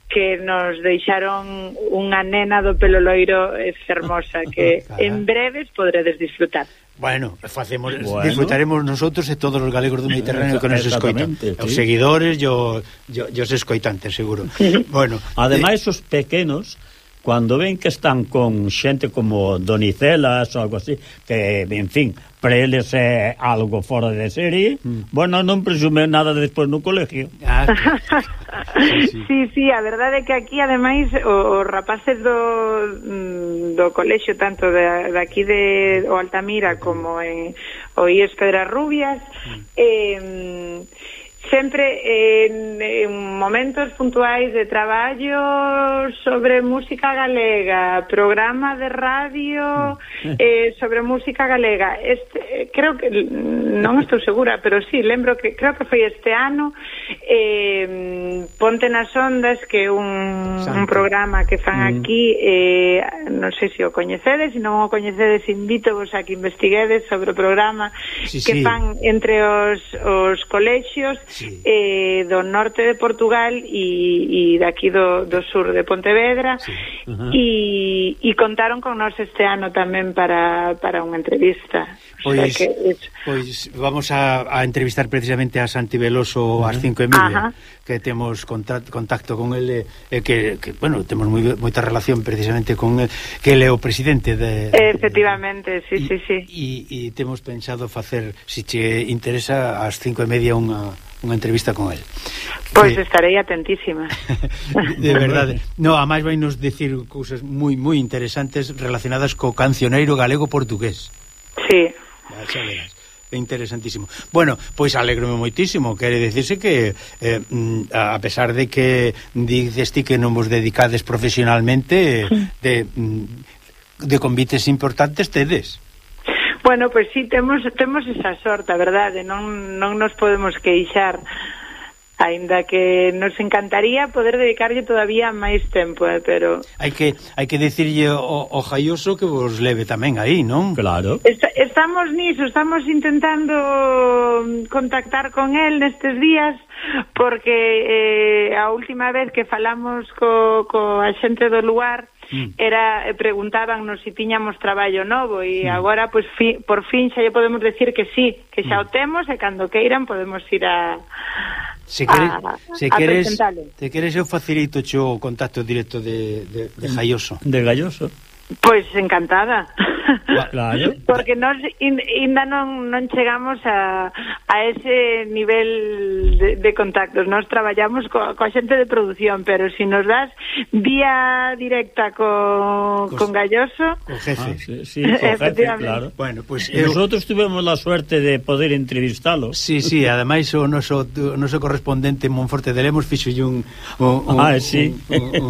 que nos deixaron unha nena do pelo loiro fermosa, que en breves podredes disfrutar. Bueno, disfrutaremos nosotros e todos os galegos do Mediterráneo que nos escoitan, os seguidores e os escoitantes, seguro. Bueno, ademais os pequenos, cando ven que están con xente como Donicelas ou algo así, que, en fin, para eles é algo fora de serie, bueno, non presume nada despois no colegio. Sí, a verdade é que aquí, ademais, os rapaces do colexio, tanto de aquí de Altamira como o IES Pedras Rubias, sempre en momentos puntuais de traballo sobre música galega, programa de radio sobre música galega. Creo que, non estou segura, pero sí, lembro que creo que foi este ano, Ponte nas Ondas, que é un programa que fan aquí, non sei se o coñecedes, se non o coñecedes, invito vos a que investiguedes sobre o programa que fan entre os colexios do norte de Portugal e daqui do sur de Pontevedra, e contaron con nós este ano tamén para unha entrevista. Pois vamos a entrevistar precisamente a Santi Veloso ás 5:30, que temos contacto con ele, que bueno, temos moita relación precisamente con ele, que ele é o presidente de... Efectivamente, sí. E temos pensado facer, se che interesa, ás 5:30 unha entrevista con ele. Pois estarei atentísima. De verdade. No, a máis vai nos decir cousas moi interesantes relacionadas co cancioneiro galego-portugués. Sí. Xa verás. É interesantísimo. Bueno, pois alegrome moitísimo. Quere dicirse que a pesar de que dices ti que non vos dedicades profesionalmente, de convites importantes tedes. Bueno, pois sí, temos esa sorte, a verdade, non nos podemos queixar, aínda que nos encantaría poder dedicarlle todavía máis tempo, pero... Hai que decirlle ao Jaioso que vos leve tamén aí, non? Claro. Estamos niso, estamos intentando contactar con él nestes días, porque a última vez que falamos co a xente do lugar preguntábamos se tiñamos traballo novo, e agora pois por fin xa lle podemos decir que sí, que xa o temos, e cando queiran podemos ir a presentalo. Te queres eu facilito o contacto directo de Jaioso. De Galloso. Pois encantada. Claro. Porque nós ainda non chegamos a ese nivel de contactos. Nós traballamos coa xente de produción, pero se nos das vía directa con Galloso, co jefe. Sí, co jefe, claro. Bueno, pues nosotros tuvemos la suerte de poder entrevistalo. Sí, ademais o noso correspondente en Monforte de Lemos fixo un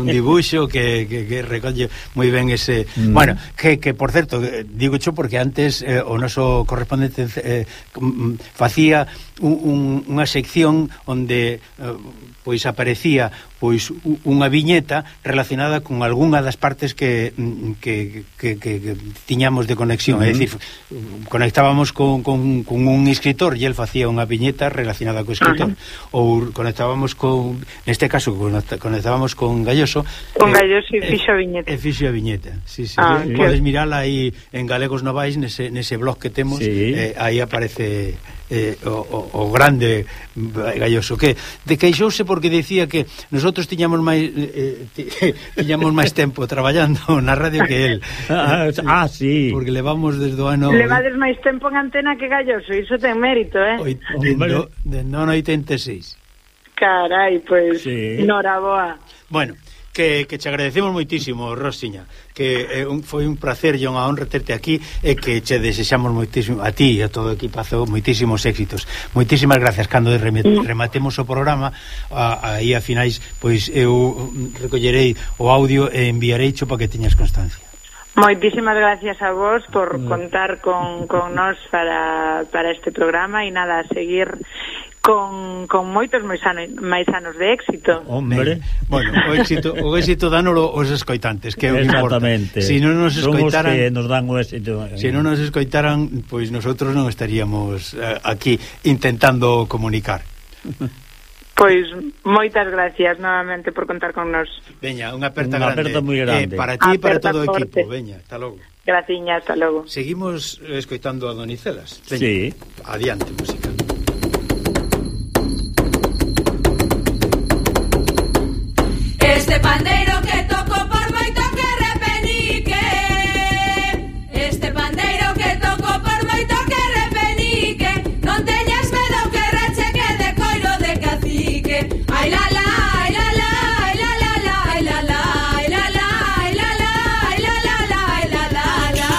dibuixo que recolle moi ben ese... Bueno, que por certo, digo xo porque antes o noso correspondente facía unha sección onde pois aparecía pois unha viñeta relacionada con algunha das partes que tiñamos de conexión, é dicir, conectábamos con un escritor e el facía unha viñeta relacionada co escritor, ou conectábamos con, neste caso conectábamos con Galloso, e fixo a viñeta. Sí. Podes mirala aí en Galegos Novais, nese blog que temos, aí aparece o grande Galloso, que queixouse porque dicía que nosotros tiñamos máis tempo traballando na radio que él. Sí. Porque levamos desde o ano... Levades máis tempo en antena que Galloso, iso ten mérito, Non 86. Carai, pois, noraboa. Bueno, que te agradecemos moitísimo, Rosiña, que foi un placer e unha honra terte aquí, e que che desexamos moitísimo a ti e a todo o equipazo moitísimos éxitos. Moitísimas gracias. Cando rematemos o programa aí a finais, pois eu recollerei o audio e enviarei cho para que teñas constancia. Moitísimas gracias a vos por contar con nós para este programa, e nada, a seguir con moitos máis anos de éxito. Hombre, bueno, o éxito dánolo os escoitantes, que é o que importa. Se non nos escoitaran, que nos dan o éxito. Se non nos escoitaran, pois nosotros non estaríamos aquí intentando comunicar. Pois moitas gracias novamente por contar con nós. Veña, unha aperta grande. Moi grande. Para ti e para todo o equipo. Veña, hasta logo. Graciña, hasta logo. Seguimos escoitando a Donicelas. Veña, sí. Adiante, música. Este pandeiro que toco por moito que repenique, este pandeiro que toco por moito que repenique, non teñas medo que rache que de coiro de cacique. Ai la la, ai la la, ai la la la, ai la la, ai la la, ai la la, ai la la la, ai la la la.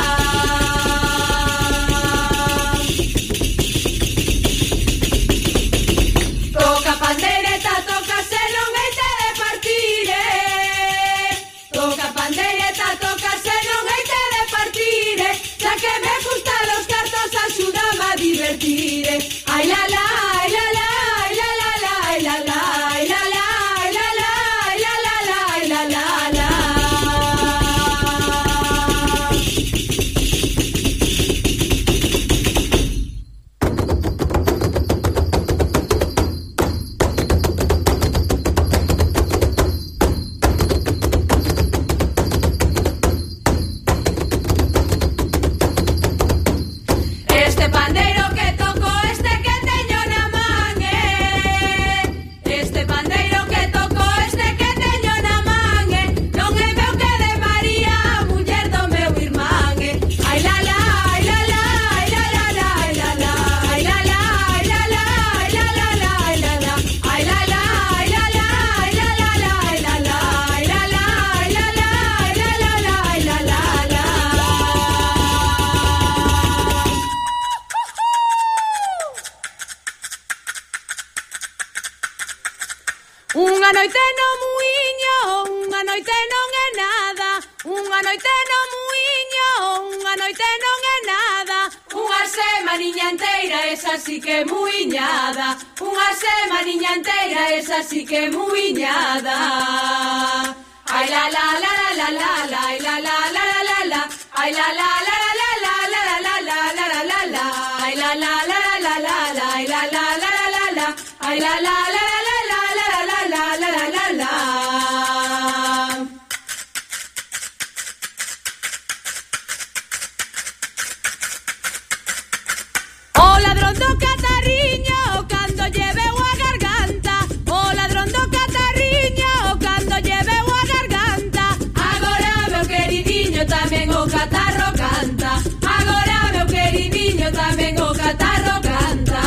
Unha noite no muiño, unha noite non é nada. Unha noite no muiño, unha noite non é nada. Unha semaniña enteira, esa sí que é muiñada. Unha semaniña enteira, esa sí que é muiñada. Ai la la la la la la, ai la la la la la, ai la la la la la la la la la la la la, ai la la la la la la, ai la la la la la, ai la la la la la la la la la la. O ladrón do catarriño cando lleveu a garganta, o ladrón do catarriño cando lleveu a garganta. Agora meu queridinho tamén o catarro canta, agora meu queridinho tamén o catarro canta.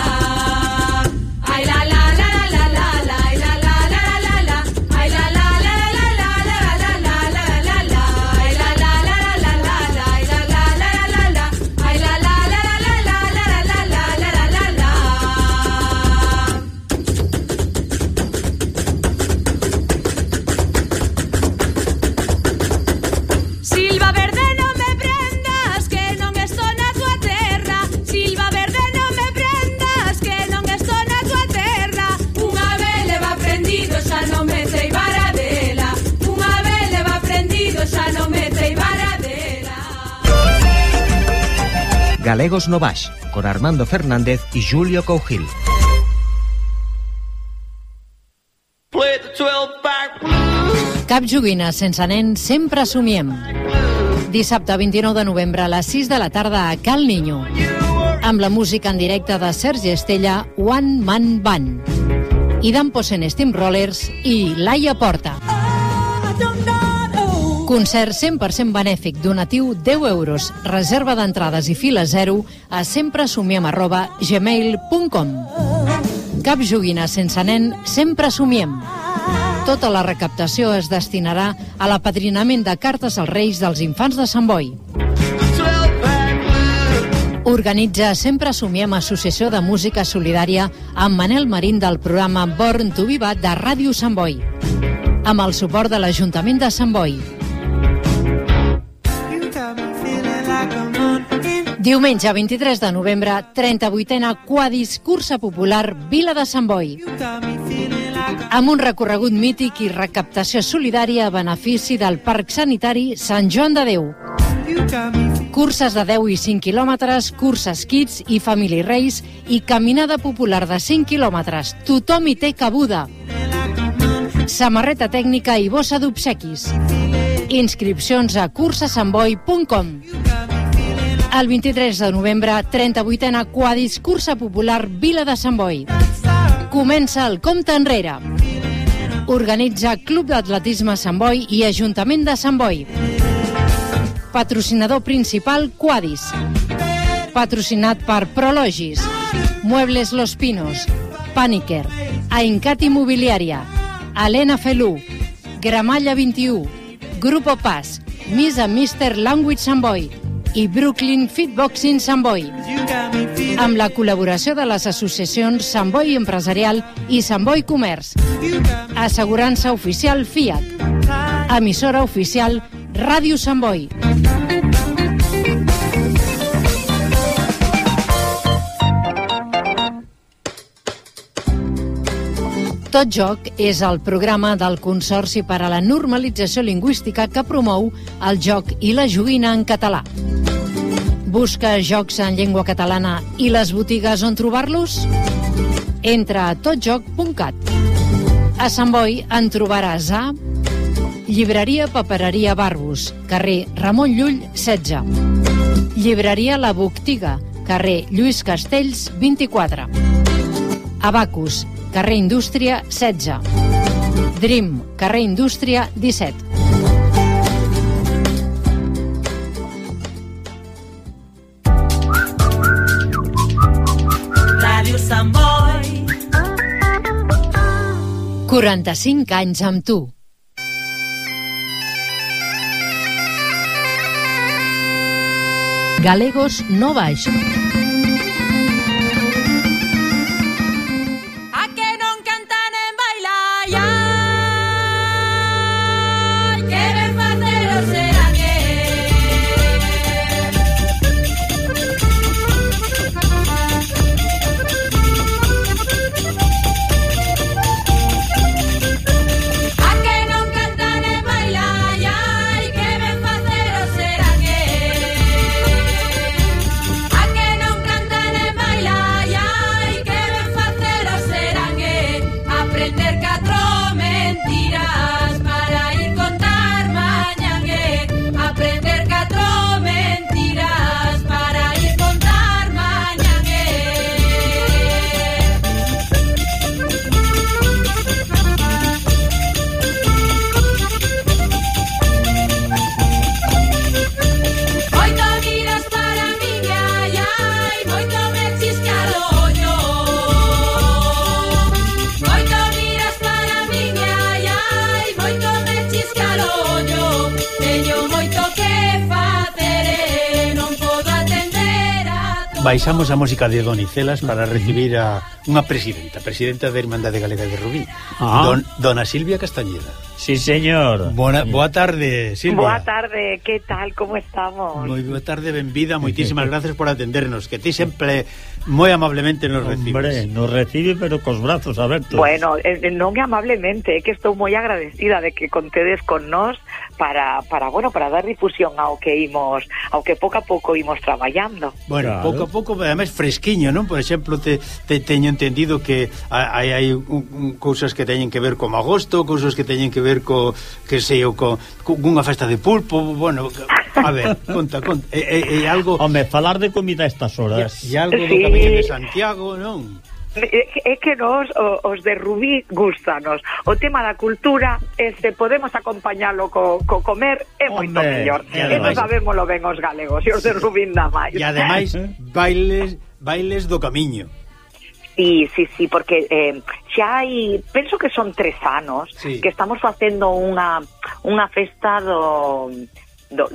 Ai la la la la la la, ai la la la la la, ai la la la la la la la la la la la, ai la la la la la la, ai la la la la la, ai la la la la la la la la la la. Silva verde non me prendas que non estou na tua terra. Silva verde non me prendas que non estou na tua terra. Unha vez leva prendido xa non me sei varadela. Unha vez leva prendido xa non me sei varadela. Galegos no Baix, con Armando Fernández y Julio Cougil. Cap joguina sense nen sempre somiem. Dissabte 29 de novembre a les 6 de la tarda a Cal Niño. Amb la música en directe de Sergi Estella, One Man Band. I Damposen Steamrollers i Laia Porta. Concert 100% benèfic, donatiu 10 euros, reserva d'entrades i fila 0 a sempresomiem@gmail.com. Cap joguina sense nen, sempre somiem. Tota la recaptació es destinarà a l'apadrinament de cartes als Reis dels Infants de Sant Boi. Organitza Sempre Somiem, Associació de Música Solidària, amb Manel Marín del programa Born to Be Bad de Ràdio Sant Boi, amb el suport de l'Ajuntament de Sant Boi. Diumenge 23 de novembre, 38a Quadis Cursa Popular Vila de Sant Boi, amb un recorregut mític i recaptació solidària a benefici del Parc Sanitari Sant Joan de Déu. Curses de 10 i 5 quilòmetres, curses Kids i Family Race i caminada popular de 5 quilòmetres. Tothom hi té cabuda. Samarreta tècnica i bossa d'obsequis. Inscripcions a cursasantboi.com. El 23 de novembre, 38a Quadis Cursa Popular Vila de Sant Boi. Comença el compte enrere. Organitza Club d'Atletisme Sant Boi i Ajuntament de Sant Boi. Patrocinador principal Quadis. Patrocinat per Prologis, Muebles Los Pinos, Paniker, Aincat Immobiliària, Helena Felú, Gramalla 21, Grupo Paz, Miss and Mr. Language Sant Boi i Brooklyn Fitboxing Sant Boi, amb la col·laboració de les associacions Sant Boi Empresarial i Sant Boi Comerç. Assegurança oficial Fiat. Emissora oficial Ràdio Sant Boi. Tot Joc és el programa del Consorci per a la Normalització Lingüística que promou el joc i la joguina en català. Busca jocs en llengua catalana i les botigues on trobar-los? Entra a totjoc.cat. A Sant Boi en trobaràs a Llibreria Papereria Barbus, carrer Ramon Llull 16. Llibreria La Boctiga, carrer Lluís Castells 24. Abacus, carrer Indústria 16. Dream, carrer Indústria 17. Ràdio Sant Boi. 45 anys amb tu. Galegos no baix. Baixamos a música de Donicelas para recibir a unha presidenta da Irmandade Galega de Rubí, Dona Silvia Castañeda. Sí, señor. Boa tarde, Silvia. Boa tarde, que tal, como estamos? Moi boa tarde, benvida, moitísimas gracias por atendernos, que ti sempre moi amablemente nos recibes. Hombre, nos recibe pero cos brazos abertos. Bueno, non amablemente, é que estou moi agradecida de que contedes con nós para dar difusión ao que pouco a pouco imos traballando. Bueno, claro. pouco, además fresquiño, non? Por exemplo, te teño entendido que hai cousas que teñen que ver con agosto, cousas que teñen que ver con unha festa de pulpo, bueno, a ver, conta, é algo... Home, falar de comida a estas horas. E algo do Camiño de Santiago, non? É que nos, os de Rubí, gustanos. O tema da cultura, podemos acompañalo co comer, é moito mellor. Eso sabémoslo ben os galegos, e os de Rubí nada máis. E ademais, bailes do Camiño. Sí, porque xa hai, penso que son 3 anos que estamos facendo unha festa do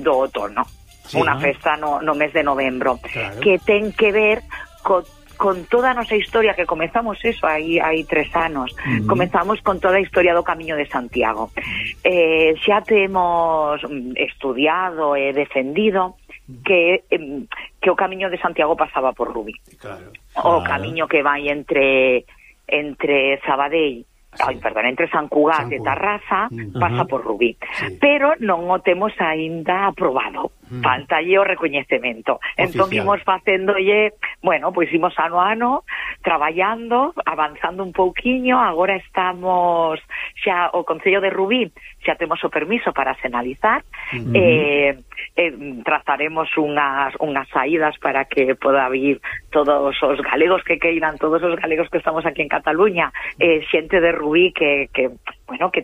outono, unha festa no mes de novembro, claro, que ten que ver con toda a nosa historia, que comezamos eso hai 3 anos. Comezamos con toda a historia do Camiño de Santiago. Xa temos estudiado e defendido que o Camiño de Santiago pasaba por Rubí. Claro. O camiño que vai entre Sabadell, entre San Cugat e Tarrasa, pasa por Rubí. Pero non o temos aínda aprobado. Faltalle o recoñecemento. Entón imos facéndolle, pois imos ano a ano traballando, avanzando un pouquiño. Agora estamos xa o Concello de Rubí, xa temos o permiso para senalizar. Trazaremos unhas saídas para que poda vir todos os galegos que queiran, todos os galegos que estamos aquí en Cataluña, xente de Rubí que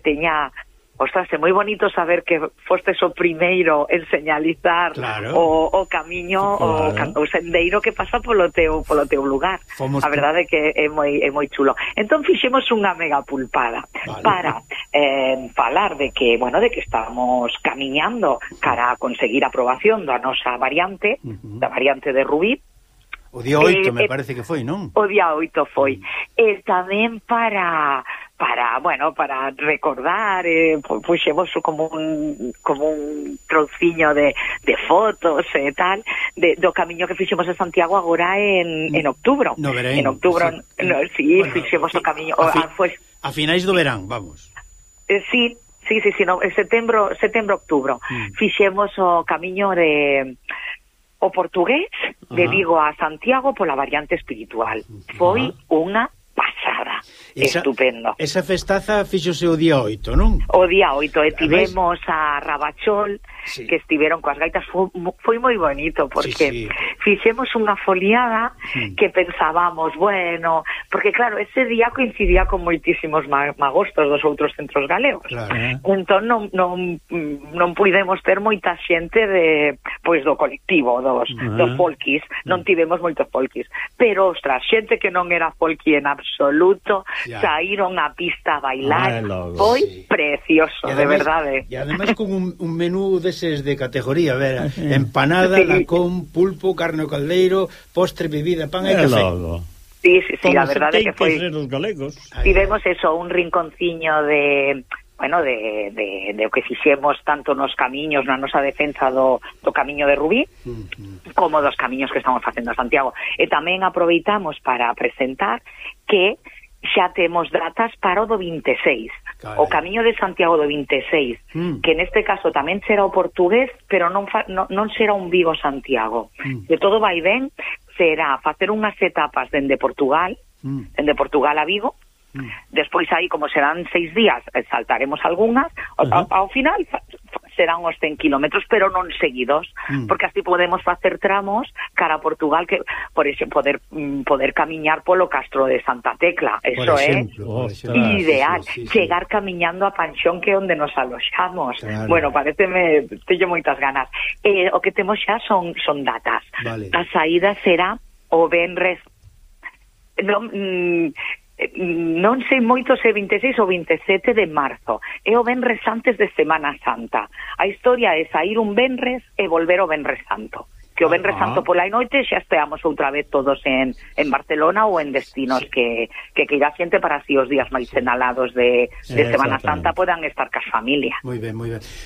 teña... Ostras, é moi bonito saber que fostes o primeiro en señalizar, claro, o camiño, claro, o sendeiro que pasa polo teu lugar. A verdade é que é moi chulo. Entón fixemos unha mega pulpada, vale, para falar de que estamos camiñando cara a conseguir a aprobación da nosa variante, da variante de Rubí. O día 8 me parece que foi, non? O día 8 foi. E tamén para recordar, puxemos como un trociño de fotos e tal do camiño que fixemos en Santiago agora en outubro. No verán. En outubro, fixemos o camiño. A finais do verán, vamos. Sí, no, setembro, outubro. Fixemos o camiño de o portugués de Vigo a Santiago pola variante espiritual. Foi unha pasada. Estupendo. Esa festaza fixose o día 8, non? O día 8, e tivemos a Rabachol, que estiveron coas gaitas. Foi moi bonito, porque fixemos unha foliada que pensábamos, bueno, porque claro, ese día coincidía con moitísimos magostos dos outros centros galegos. Entón non puidemos ter moita xente do colectivo, dos folkis, non tivemos moitos folkis, pero, ostras, xente que non era folki en absoluto, saíron á pista a bailar, foi precioso, de verdade. E ademais con un menú deses de categoría, a ver, empanada, lacón, pulpo, carne ao caldeiro, postre, bebida, pan e café. Sí, a verdade que foi. Tivemos eso, un rinconciño de o que fixemos tanto nos camiños, na nosa defensa do camiño de Rubí, como dos camiños que estamos facendo a Santiago. E tamén aproveitamos para presentar que xa temos datas para o do 26. O camiño de Santiago do 26, que neste caso tamén será o portugués, pero non será un Vigo-Santiago. De todo vai ben, será facer unhas etapas dende Portugal, a Vigo. Despois aí, como serán 6 días, saltaremos algunhas. Ao final serán os 100 kilómetros, pero non seguidos, porque así podemos facer tramos cara a Portugal, que por exemplo, poder camiñar polo Castro de Santa Tecla. Eso é ideal. Chegar camiñando a Panxón, que é onde nos aloxamos. Bueno, pareceme, teño moitas ganas. O que temos xa son datas. A saída será o venres, non sei moito se 26 ou 27 de marzo, é o venres antes de Semana Santa. A historia é sair un venres e volver o venres santo, que o venres santo pola noite xa esteamos outra vez todos en Barcelona ou en destinos que irá xente para así os días máis senalados de Semana Santa podan estar cas familia. Moi ben.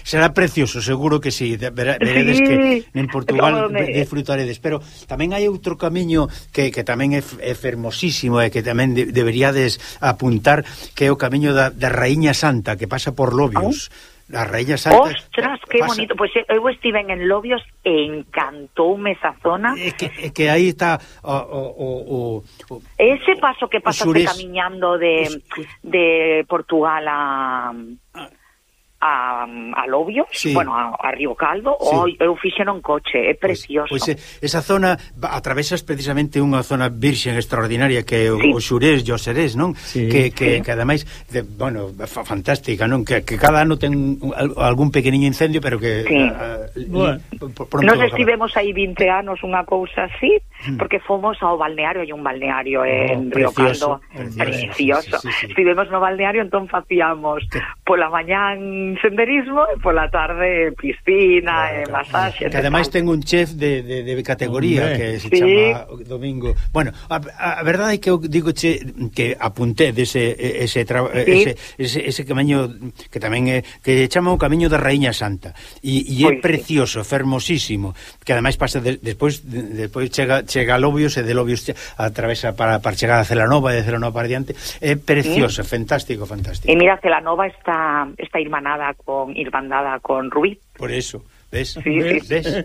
Será precioso, seguro que sí. Veredes que en Portugal disfrutaredes, pero tamén hai outro camiño que tamén é fermosísimo e que tamén deberíades apuntar, que é o camiño da Raíña Santa, que pasa por Lobios. La Raíña Santa. Ostras, que bonito. Pois eu estive en Lobios e encantoume esa zona. Que aí está ese paso que pasaste camiñando de Portugal a Lobios, bueno, a Río Caldo, eu fixeno en coche, é precioso. Pois esa zona atravesas precisamente unha zona virxen extraordinaria que é o Xurés e o Serés, non? Que ademais, bueno, fantástica, non? Que cada ano ten algún pequeniño incendio, pero que nos estivemos aí 20 anos, unha cousa así, porque fomos ao balneario, hai un balneario en Río Caldo precioso. Estivemos no balneario, entón facíamos pola mañán senderismo e pola tarde piscina e masaxe. Que ademais ten un chef de categoría que se chama Domingo. Bueno, a verdade é que eu digo que apunté ese camiño que tamén é que chama o camiño da Raíña Santa e é precioso, fermosísimo, que ademais pasa despois chega a Lobios e de Lobios atravesa para chegar a Celanova e de Celanova para diante. É precioso, fantástico. E mira, Celanova está irmanada irmandada con Rubí. Por eso, ves? ¿Ves?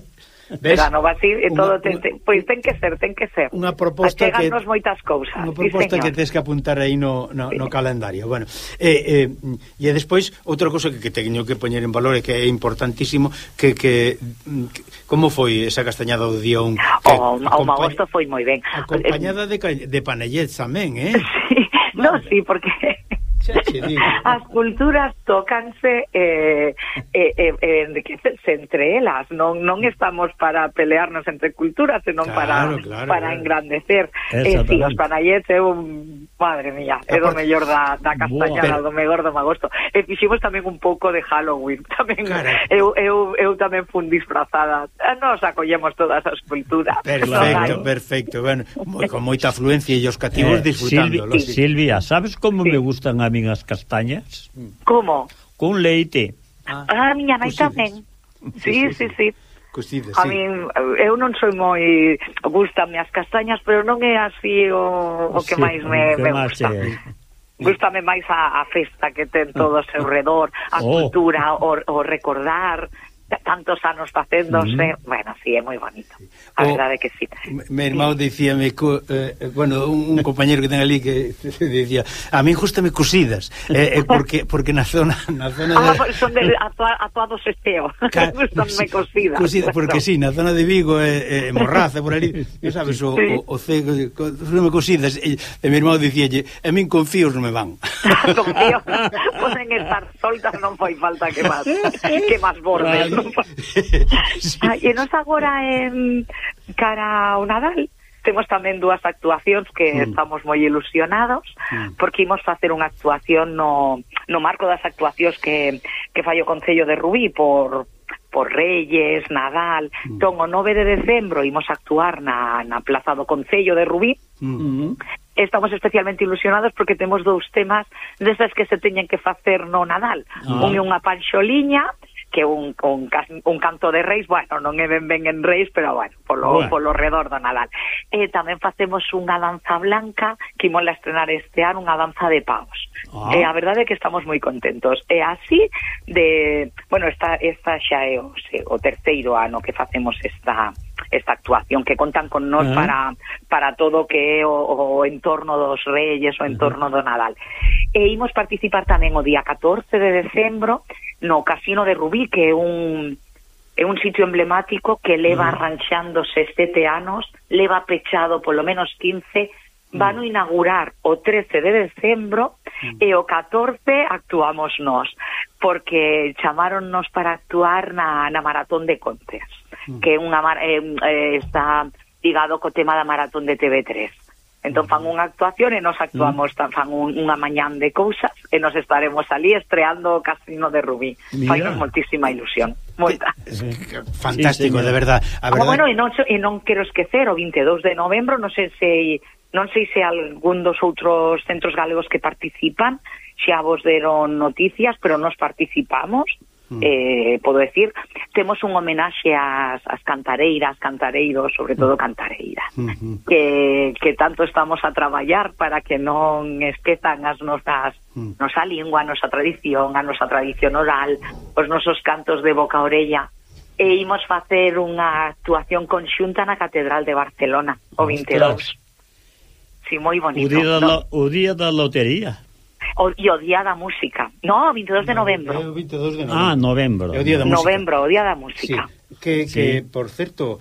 Celanova así e todo pois ten que ser. Unha proposta que moitas cousas. Unha proposta que tens que apuntar aí no calendario. Bueno, e despois outra cousa que teño que poñer en valor e que é importantísimo, que como foi esa castañada do día 1? O magosto foi moi ben. Acompañada de panellets tamén, Sí, porque as culturas tócanse entre elas, non estamos para pelearnos entre culturas, senón para engrandecer. Os panallets é madre mía, é do mellor da castañada, do mellor do magosto. E fiximos tamén un pouco de Halloween tamén. Eu tamén fun disfrazada. Nos acollemos todas as culturas. Perfecto. Bueno, con moita afluencia e os cativos disfrutándolo. Silvia, sabes como me gustan a min as castañas? Como? Con leite. Miña nai tamén. Sí. Cocidas, a min, eu non sou moi... Gústame as castañas, pero non é así o que máis me gusta. Gústame máis a festa que ten todo ao seu redor, a cultura, o recordar tantos anos facéndose, bueno, sí, é moi bonito. A verdade que sí. Mi irmão dicíame, bueno, un compañero que ten ali que dicía, a mí gústame cosidas, porque na zona son de atuados esteo. Gústame cosidas. Porque sí, na zona de Vigo Morraza, por ali, sabes, o cego, gústame cosidas, e mi irmão dicíalle, a min confíos non me van. Confíos, poden estar soltas, non foi falta que máis bordes, non? E nos agora en cara ao Nadal temos tamén dúas actuacións que estamos moi ilusionados porque imos facer unha actuación no marco das actuacións que fai o Concello de Rubí por Reyes, Nadal. Entón, o 9 de decembro imos actuar na Plaza do Concello de Rubí. Estamos especialmente ilusionados porque temos dous temas desas que se teñen que facer no Nadal. Un é unha panxoliña, que un canto de reis, bueno, non é ben en reis, pero bueno, polo redor do Nadal. E tamén facemos unha danza blanca que imos a estrenar este ano, unha danza de pavos. E a verdade é que estamos moi contentos. E así bueno, esta xa é o terceiro ano que facemos esta actuación, que contan con nós para todo o que é o entorno dos Reyes, o entorno do Nadal. E imos participar tamén o día 14 de decembro no Casino de Rubí, que é un sitio emblemático que leva arranchándose 7 anos, leva pechado polo menos 15, van a inaugurar o 13 de decembro e o 14 actuamos nós, porque chamáronnos para actuar na Maratón de Contes, que está ligado co tema da Maratón de TV3. Entón fan unha actuación e nos actuamos, fan unha mañán de cousas e nos estaremos ali estreando o Casino de Rubí. Fainos moitísima ilusión, moita. Fantástico, de verdad. Bueno, e non quero esquecer, o 22 de novembro, non sei se algún dos outros centros galegos que participan xa vos deron noticias, pero nos participamos. Podo decir, temos un homenaxe ás cantareiras, cantareiros, sobre todo cantareiras, que tanto estamos a traballar para que non esquezan as nosa lingua, a nosa tradición oral, os nosos cantos de boca a orella. E imos facer unha actuación conxunta na Catedral de Barcelona o 22. Sí, moi bonito. O día da lotería. E o día da música. No, o 22 de novembro. O 22 de novembro. Novembro. É o día da música. Novembro, o día da música. Sí. Que por certo,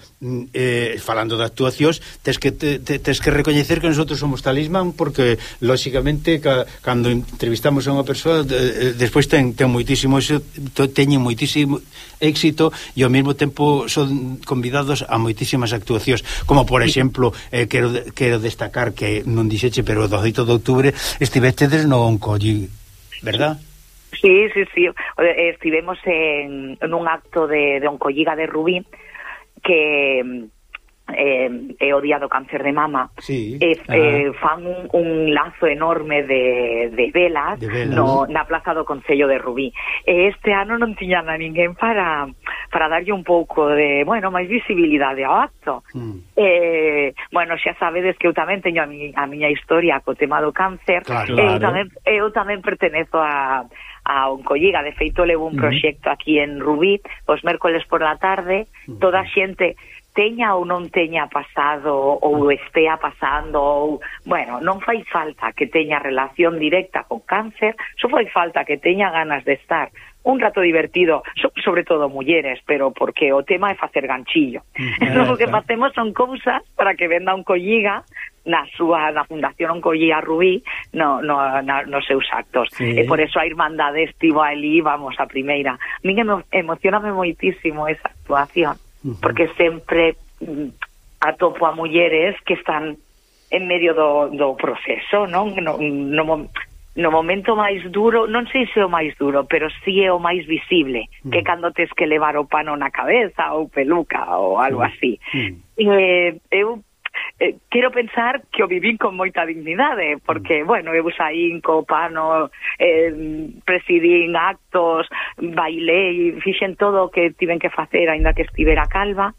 falando de actuacións, tes que recoñecer que nosotros somos talismán, porque lóxicamente cando entrevistamos a unha persoa despois ten moitísimo éxito e ao mesmo tempo son convidados a moitísimas actuacións, como por exemplo quero destacar que non dixeche, pero o 18 de outubro estivestedes no Oncolli, verdad? Sí. Estivemos en un acto de Oncolliga de Rubí, que é o día do cáncer de mama. Fan un lazo enorme de velas na Plaza do Concello de Rubí. Este ano non tiñan a ninguén para darlle un pouco de, máis visibilidade ao acto. Bueno, xa sabedes que eu tamén teño a miña historia co tema do cáncer. Eu tamén pertenezo a Oncolliga. De feito, levo un proxecto aquí en Rubí os mércoles por la tarde. Toda a xente, teña ou non teña pasado ou estea pasando ou, non fai falta que teña relación directa con cáncer, só fai falta que teña ganas de estar un rato divertido, sobre todo mulleres, pero porque o tema é facer ganchillo. O que facemos son cousas para que venda Oncolliga na Fundación Oncolliga Rubí nos seus actos. E por eso a Irmandade estivo ali, vamos, a primeira. A mí emocioname moitísimo esa actuación, porque sempre atopo a mulleres que están en medio do proceso, non? No momento máis duro, non sei se é o máis duro, pero sí é o máis visible, que cando tes que levar o pano na cabeza ou peluca ou algo así. Eu quero pensar que o vivín con moita dignidade, porque, eu saín co pano, presidín actos, bailei, fixen todo o que tiven que facer, aínda que estivera calva,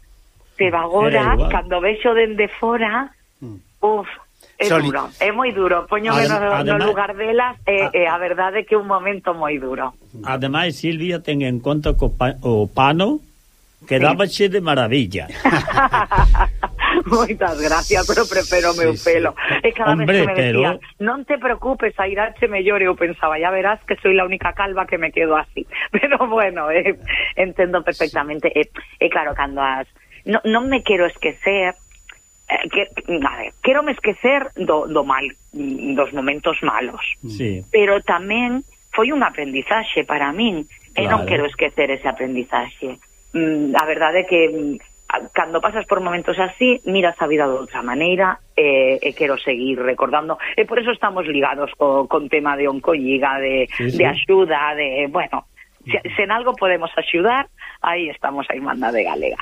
pero agora, cando vexo dende fora, É duro, é moi duro. Póñome no lugar delas e a verdade é que é un momento moi duro. Ademais, Silvia, ten en conta que o pano quedábache de maravilla. Moitas gracias, pero prefiro o meu pelo. E cada vez que me decían, non te preocupes, a irache mellor, eu pensaba, ya verás que soy la única calva que me quedo así. Pero bueno, entendo perfectamente. E claro, cando non me quero esquecer, quero me esquecer do mal, dos momentos malos. Sí. Pero tamén foi un aprendizaxe para min, e non quero esquecer ese aprendizaxe. A verdade é que cando pasas por momentos así, miras a vida de outra maneira e quero seguir recordando, e por eso estamos ligados con tema de oncolliga, de axuda, de, bueno, se en algo podemos axudar, aí estamos a Irmandade Galega.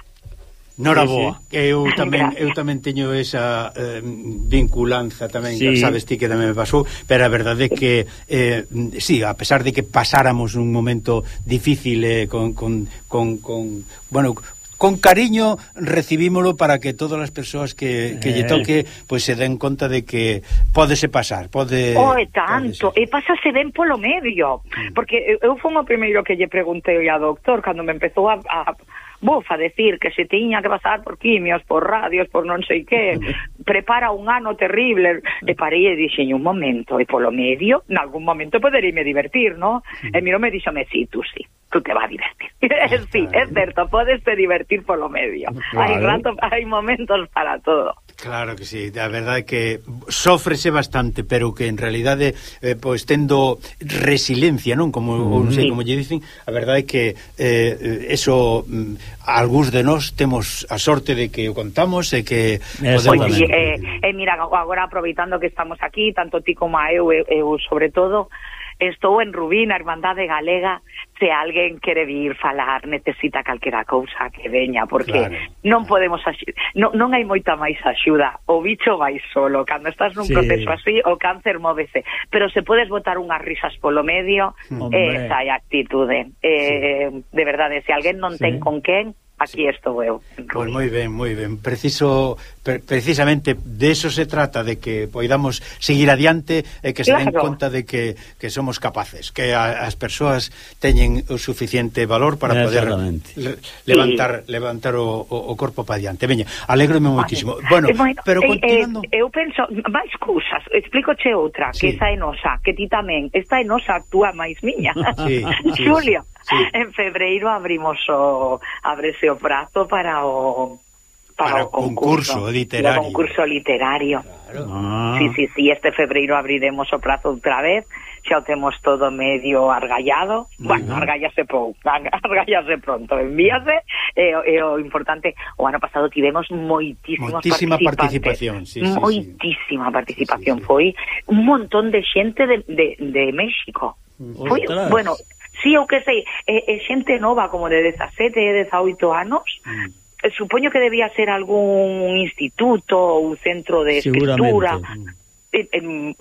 Nora boa, eu tamén teño esa vinculanza tamén, sabes ti que tamén me pasou, pero a verdade é que sí, a pesar de que pasáramos un momento difícil con cariño recibímolo para que todas as persoas que lle toque pois se den conta de que pódese pasar, pode... tanto, e pásase ben polo medio, porque eu fui o primeiro que lle preguntei ao doctor cando me empezou a decir que se tiña que pasar por quimios, por radios, por non sei que, prepara un ano terrible, e parei e dixen un momento, e polo medio, en algún momento podereime divertir, ¿no? E miro me dixome, sí, tú te vas a divertir. Sí, é certo, podes te divertir polo medio. Hai momentos para todo. Claro que sí, a verdade é que sófrese bastante, pero que en realidade pois tendo resiliencia, non? Como non sei como lle dicen, a verdade é que eso algúns de nós temos a sorte de que o contamos e que podemos... mira, agora aproveitando que estamos aquí, tanto ti como eu sobre todo, estou en Rubí, na Irmandade Galega. Se alguén quere vir falar, necesita calquera cousa que veña, porque non podemos non hai moita máis axuda. O bicho vai solo, cando estás nun proceso así, o cáncer móvese, pero se podes botar unhas risas polo medio, esa é a actitude. De verdade, se alguén non ten con quen, aquí estou eu. Pois moi ben. Precisamente de eso se trata, de que poidamos seguir adiante e que se den conta de que somos capaces, que as persoas teñen o suficiente valor para poder levantar o corpo para adiante. Veña, alégrome moitísimo. Bueno, pero continuando... Eu penso, máis cousas, explícoche outra, que esa é nosa, que ti tamén, esta é nosa, actúa máis miña. Xulio. En febreiro ábrese o prazo para o concurso literario. O concurso literario. Claro. Sí, este febreiro abriremos o prazo outra vez. Xa o temos todo medio argallado. Bueno, argallase pronto, envíase. E o importante, o ano pasado tivemos moitísima participación. Moitísima participación. Foi un montón de xente de México. Foi, bueno, sí, eu que sei, xente nova como de 17, 18 anos. Supoño que debía ser algún instituto ou centro de escritura.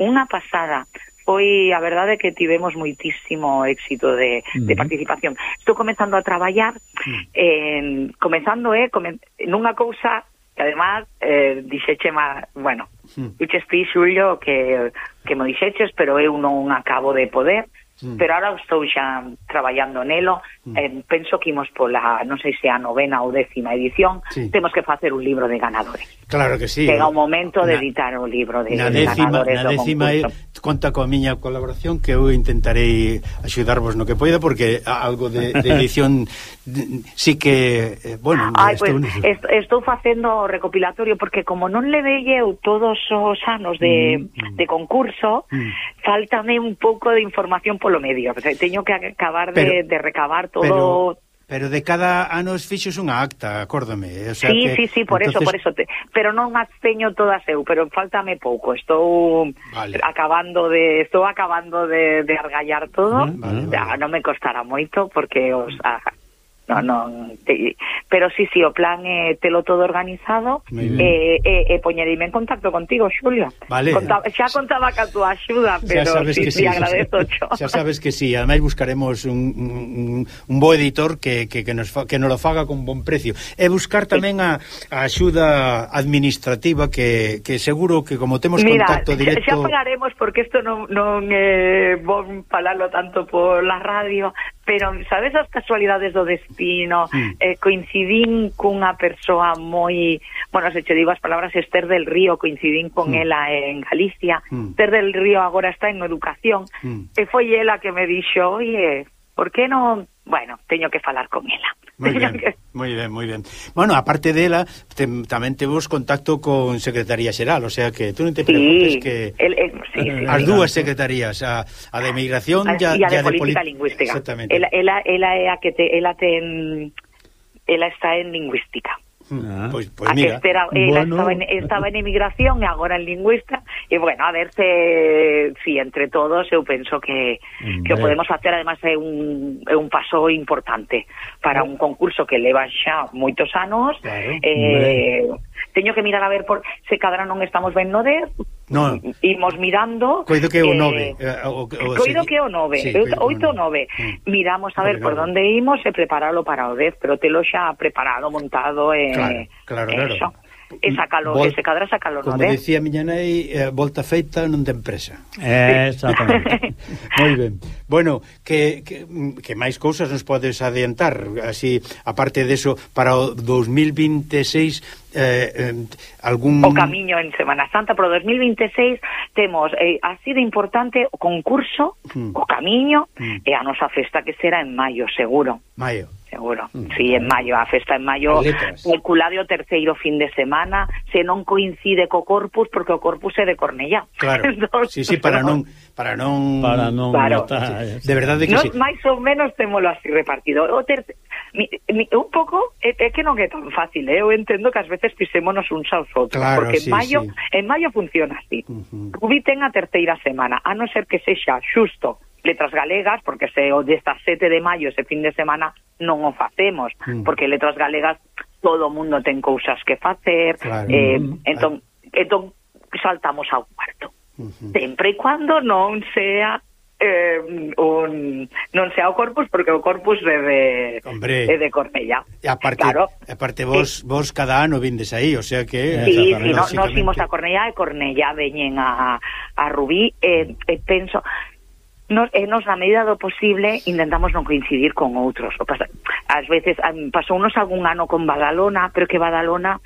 Unha pasada. Foi, a verdade, que tivemos moitísimo éxito de participación. Estou comenzando a traballar, nunha cousa que además dixeche bueno, dices ti, Xulio, que me dixeches, pero eu non acabo de poder. Pero ahora estou xa traballando nelo. Penso que imos pola, non sei se a 9ª ou 10ª edición, temos que facer un libro de ganadores. Claro que sí. Chega o momento de editar un libro de ganadores do concurso. Conta coa miña colaboración, que eu intentarei axudarvos no que poida, porque algo de edición sí que, bueno... estou facendo o recopilatorio, porque como non le velle eu todos os anos de concurso, faltame un pouco de información polo medio. Teño que acabar de recabar todo... Pero de cada ano fixos unha acta, acórdame. O sea sí, por eso. Pero non as teño todas eu, pero faltame pouco. Estou acabando de argallar todo. Non me costará moito, porque pero sí, o plan é telo todo organizado e poñerime en contacto contigo, Xulio. Vale. Xa contaba ca túa axuda, pero sí, agradezo xo. Xa sabes que sí, ademais buscaremos un bo editor que nos lo faga con bon precio. E buscar tamén a axuda administrativa que seguro que como temos contacto directo... Xa pagaremos porque isto non bon falarlo tanto por la radio, pero sabes as casualidades do destino? Coincidín cunha persoa moi... Bueno, se che digo as palabras, Esther del Río, coincidín con ela en Galicia. Esther del Río agora está en educación, e foi ela que me dixo, oye, por que non... Bueno, teño que falar con ela. Moi ben. Bueno, aparte dela, tamén temos contacto con Secretaría Xeral, o sea que tú non te preocupes que as dúas secretarías, a de Migración e a de Política Lingüística. Exactamente. Ela é a que ela está en Lingüística. Pois mira, estaba en emigración e agora en lingüista, e bueno, a ver se entre todos eu penso que o podemos facer. Además é un paso importante para un concurso que leva xa moitos anos. Teño que mirar a ver se cadra non estamos ben no 10. No. Imos mirando. Coido que é o 9. Coido que é o 9, 8 ou 9. Miramos a ver por onde imos e preparalo para o 10, pero telo xa preparado, montado claro. Eso. E sacalo, se cadra sacalo, como decía miña nai, volta feita non ten presa. Exactamente. Moi ben. Bueno, que máis cousas nos podes adiantar, así, aparte deso, para o 2026 algún... O camiño en Semana Santa, pero 2026 temos así de importante o concurso, o camiño e a nosa festa que será en maio, seguro. Seguro, sí, en maio, a festa en maio, calculade o terceiro fin de semana, se non coincide co Corpus, porque o Corpus é de Cornellá. Claro, sí, para non claro. De verdade que sí. Máis ou menos témolo así repartido. Un pouco, é que non é tan fácil, eu entendo que ás veces pisémonos uns aos outros, porque en maio funciona así. Rubí ten a terceira semana, a non ser que sexa xusto Letras Galegas, porque se o desta 7 de maio, ese fin de semana, non o facemos, porque Letras Galegas todo o mundo ten cousas que facer, entón saltamos ao cuarto. Sempre e cuando non sea non sea o Corpus, porque o Corpus é de Cornellá. E aparte vos cada ano vindes aí, o sea que... Sí, nos imos a Cornellá e Cornellá veñen a Rubí, e penso... Nos na medida do posible intentamos non coincidir con outros. Ás veces pasounos algún ano con Badalona, pero que Badalona,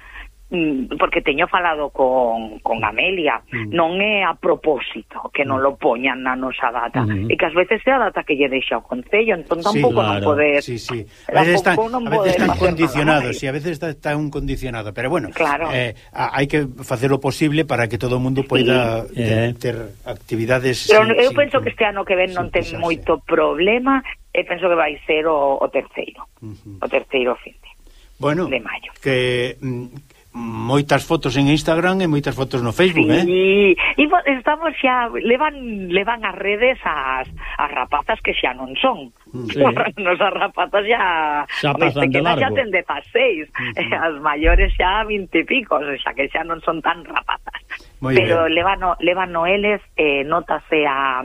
porque teño falado con Amelia, non é a propósito que non lo poñan na nosa data, e que ás veces é a data que lle deixa o Concello, entón tampouco non poder... A veces están condicionados, a veces está un condicionado, pero bueno, hai que facer o posible para que todo o mundo poida ter actividades... Pero eu penso que este ano que ven non ten moito problema, e penso que vai ser o terceiro fin de maio. Que... moitas fotos en Instagram e moitas fotos no Facebook, e estamos xa levan as redes as rapazas que xa non son. Nos as rapazas xa pasan de largo. Xa ten 16, as maiores xa 20 e pico, xa que xa non son tan rapazas. Pero levan eles, notase a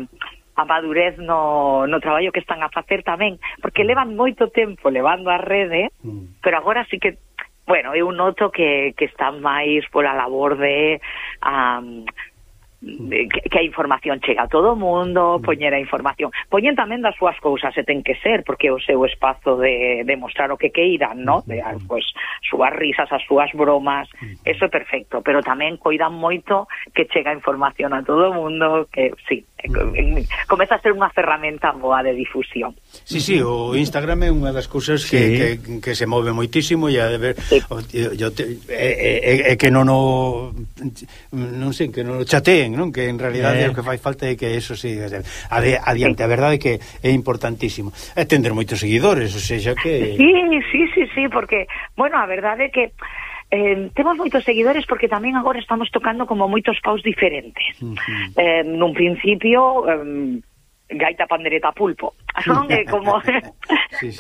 madurez no traballo que están a facer tamén, porque levan moito tempo levando a rede, pero agora sí que bueno, eu noto que están máis pola labor de que a información chega a todo o mundo, poñer a información, poñen tamén das súas cousas, e ten que ser, porque é o seu espazo de mostrar o que queiran, ¿no? De, pues, súas risas, as súas bromas, eso é perfecto, pero tamén coidan moito que chega a información a todo o mundo, que sí, comeza a ser unha ferramenta boa de difusión. Sí, o Instagram é unha das cousas que se move moitísimo, e a de ver que non sei, que non chateen, non? Que en realidade o que fai falta é que eso siga adiante. A verdade é que é importantísimo. É tender moitos seguidores, o sea que... Sí, porque, bueno, a verdade é que temos moitos seguidores porque tamén agora estamos tocando como moitos paus diferentes. Nun principio... gaita, pandereta, pulpo. non? É como... sí,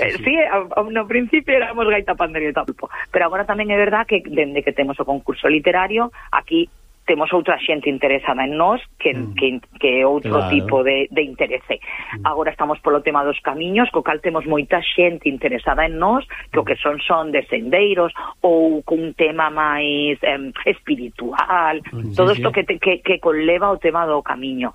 no principio éramos gaita, pandeiro e tampo, pero agora tamén é verdad que dende que temos o concurso literario, aquí temos outra xente interesada en nós que outro tipo de interese. Agora estamos polo tema dos camiños, co cal temos moita xente interesada en nós, que o que son de sendeiros ou cun tema máis espiritual, todo isto que conleva o tema do camiño.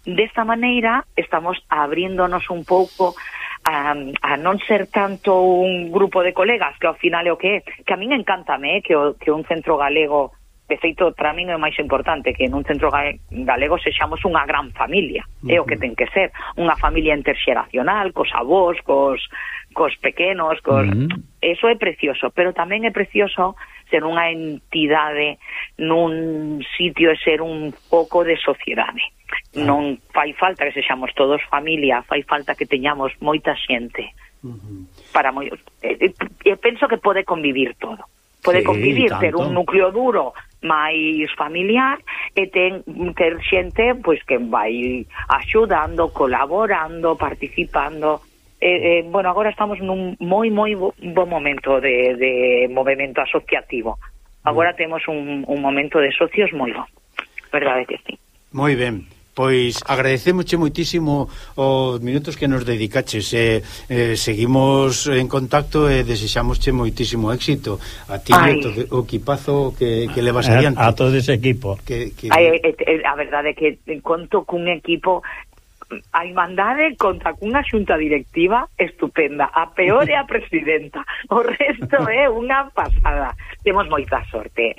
Desta maneira estamos abriéndonos un pouco a non ser tanto un grupo de colegas, que ao final é o que é, que a min encántame que un centro galego. De feito, para min é o máis importante que nun centro galego sexamos unha gran familia, é o que ten que ser, unha familia interxeracional, cos avós, cos pequenos, eso é precioso, pero tamén é precioso ser unha entidade nun sitio e ser un foco de sociedade. Non fai falta que sexamos todos familia, fai falta que teñamos moita xente. Penso que pode convivir todo. Pode convivir, ter un núcleo duro máis familiar e ter xente pois que vai axudando, colaborando, participando. Bueno, agora estamos nun moi bo momento de movimento asociativo. Agora temos un momento de socios moi bo. Verdade que sí. Moi ben. Pois agradecémoche moitísimo os minutos que nos dedicaches, seguimos en contacto e desexámosche moitísimo éxito a ti e o equipazo que levas adiante. A todo ese equipo. A verdade é que conto cun equipo, a Irmandade conta cunha xunta directiva estupenda, a peor é a presidenta, o resto é unha pasada. Temos moita sorte,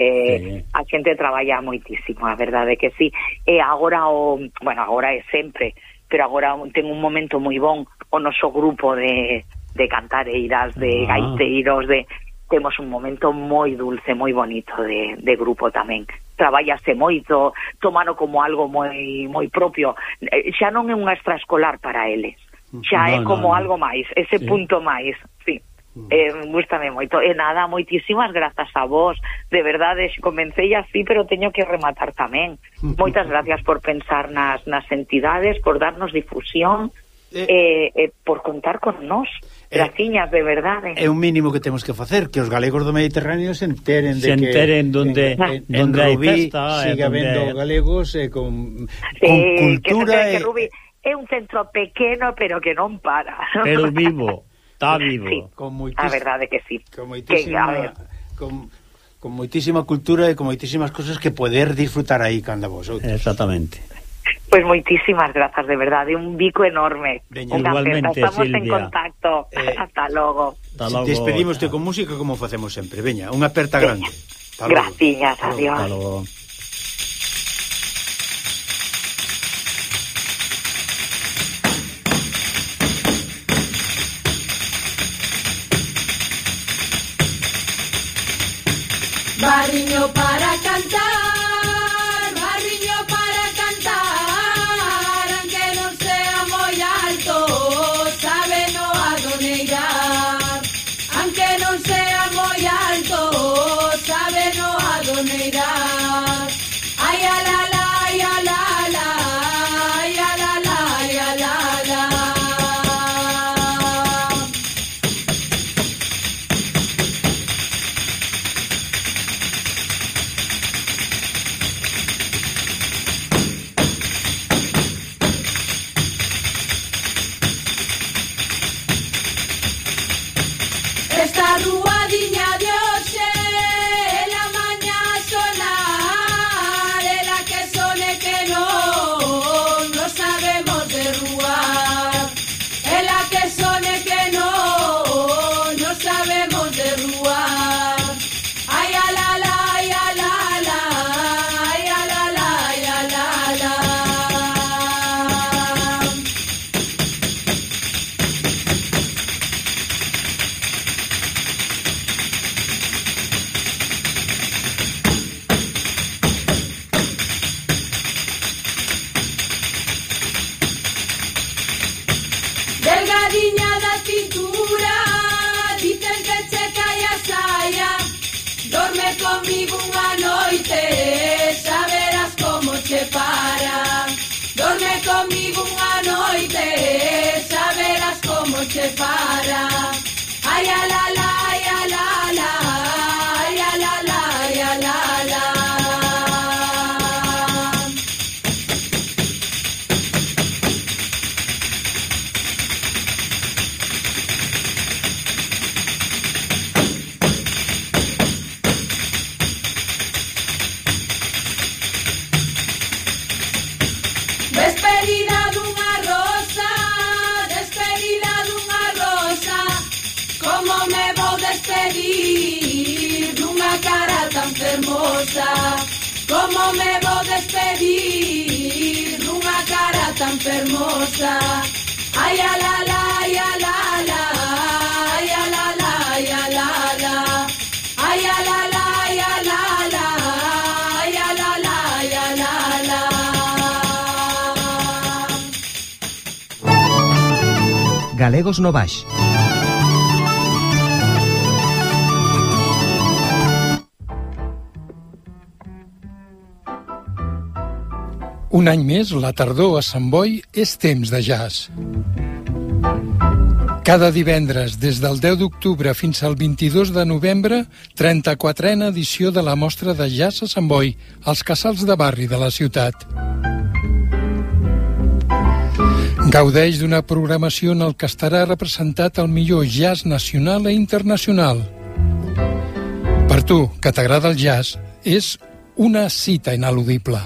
a xente traballa moitísimo, a verdade que sí. E agora agora é sempre, pero agora ten un momento moi bon o noso grupo de cantareiras, de gaiteiros, temos un momento moi dulce, moi bonito de grupo tamén. Traballase moito, tomano como algo moi propio. Xa non é unha extraescolar para eles, xa é como algo máis, ese punto máis, sí. Gústame moito. E nada, moitísimas grazas a vos. De verdade, comecei así, pero teño que rematar tamén. Moitas gracias por pensar nas entidades, por darnos difusión, por contar con nós. Graciñas, de verdade. É un mínimo que temos que facer, que os galegos do Mediterráneo se enteren donde hai festa, siga habendo galegos con cultura. Que Rubí é un centro pequeno, pero que non para. Pero vivo. Está vivo. Sí, a verdade que sí. Con moitísima cultura e con moitísimas cosas que poder disfrutar aí cando vos outros. Exactamente. Pois moitísimas grazas, de verdade, un bico enorme. Igualmente, estamos Silvia. En contacto. Hasta logo. Despedimoste con música como facemos sempre. Veña, unha aperta grande. Graciñas, adiós. Hasta logo. Barriño para cantar, barriño para cantar, aunque non sea moi alto, sabe no adoneirar. Aunque non sea moi alto, sabe no adoneirar. Ai a la la, ai a la la, ai a la la, ai a la la. Esta ruadiña de hoxe, la mañá sonar, la que sone que no sabemos derruar. La que sone que no sabemos derruar. Ay a la la, ay a la la, ay a la la, ay a la la. Delgadiña da cintura, dicen que che cae a saia. Dorme comigo unha noite, saberás como che para. Dorme comigo unha noite, saberás se para. Ay, a la la, ay, a la la, ay, a la la, ay, a la la. Despedida dunha rosa, despedida dunha rosa. Como me vou despedir dunha cara tan fermosa? Como me vou despedir dunha cara tan fermosa? Ay, a la la, ay, a la la, ay, a la la, ay, a la la. Ay, a la la, ay, a la la, ay, a la la, ay, a la la. Galegos no Baix. Un any més, la tardor a Sant Boi és temps de jazz. Cada divendres, des del 10 d'octubre fins al 22 de novembre, 34a edició de la Mostra de Jazz a Sant Boi, als casals de barri de la ciutat. Gaudeix d'una programació en el que estarà representat el millor jazz nacional i internacional. Per tu, que t'agrada el jazz, és una cita ineludible.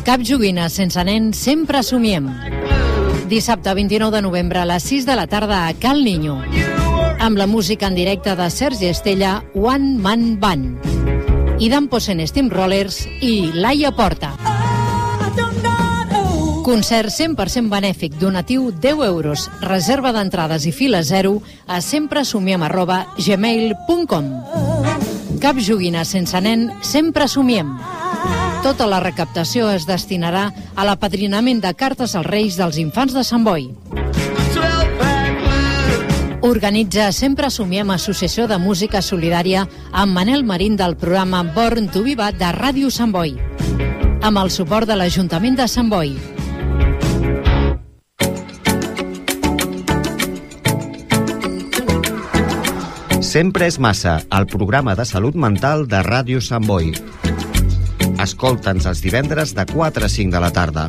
Cap joguina sense nen sempre somiem. Dissabte 29 de novembre a les 6 de la tarda a Cal Niño. Amb la música en directe de Sergi Estella, One Man Band. I Dan Posen Steamrollers i Laia Porta. Concert 100% benèfic, donatiu 10 euros, reserva d'entrades i fila 0 a sempresomiem@gmail.com. Cap joguina sense nen, sempre somiem. Tota la recaptació es destinarà a l'apadrinament de cartes als Reis dels Infants de Sant Boi. Organitza Sempre Somiem, Associació de Música Solidària, amb Manel Marín del programa Born to Be Bad de Ràdio Sant Boi, amb el suport de l'Ajuntament de Sant Boi. Sempre és massa, el programa de salut mental de Ràdio Sant Boi. Escolta'ns els divendres de 4 a 5 de la tarda.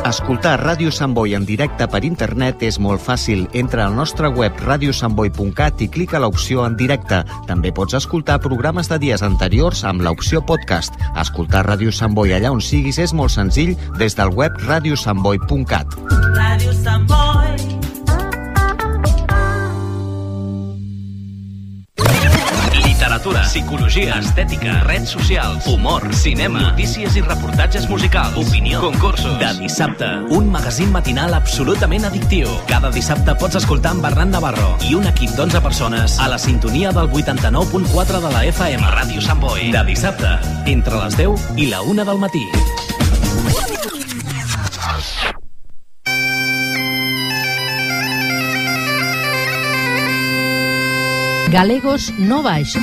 Escoltar Ràdio Sant Boi en directe per internet és molt fàcil. Entra al nostre web radiosantboi.cat i clica l'opció en directe. També pots escoltar programes de dies anteriors amb l'opció podcast. Escoltar Ràdio Sant Boi allà on siguis és molt senzill des del web radiosantboi.cat. Ràdio Sant Boi. Literatura, psicologia, estètica, redes socials, humor, cinema, notícies i reportatges musicals, opinió, concursos. De dissabte, un magazín matinal absolutament addictiu. Cada dissabte pots escoltar amb Bernat Navarro i un equip d'11 persones a la sintonia del 89.4 de la FM. Ràdio Sant Boi. De dissabte, entre les 10 i la 1 del matí. Galegos no Baix.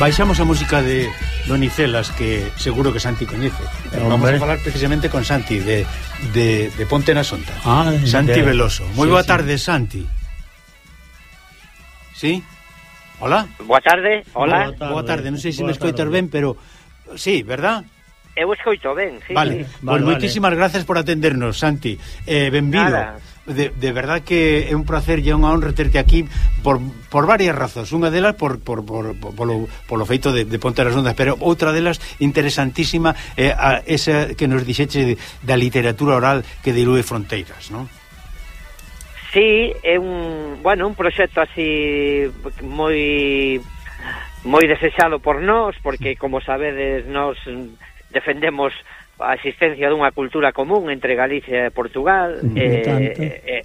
baixamos a música de Donicelas, que seguro que Santi coñece. Vamos a falar precisamente con Santi de Ponte na Sonda. Santi Veloso. Moi boa tarde, Santi. ¿Sí? Hola. Boa tarde. Hola. Boa tarde. Non sei se me escoitas ben, pero sí, verdad? Eu escoito ben, sí. Vale, pues moitísimas gracias por atendernos, Santi. Benvido. De verdad que é un placer e unha honra terte aquí por varias razóns. Unha delas polo feito de Ponte nas Ondas, pero outra delas interesantísima esa que nos dixeche da literatura oral que dilúe fronteiras, non? Sí, é un proxecto así moi desexado por nós, porque como sabedes, nós defendemos a existencia dunha cultura común entre Galicia e Portugal, é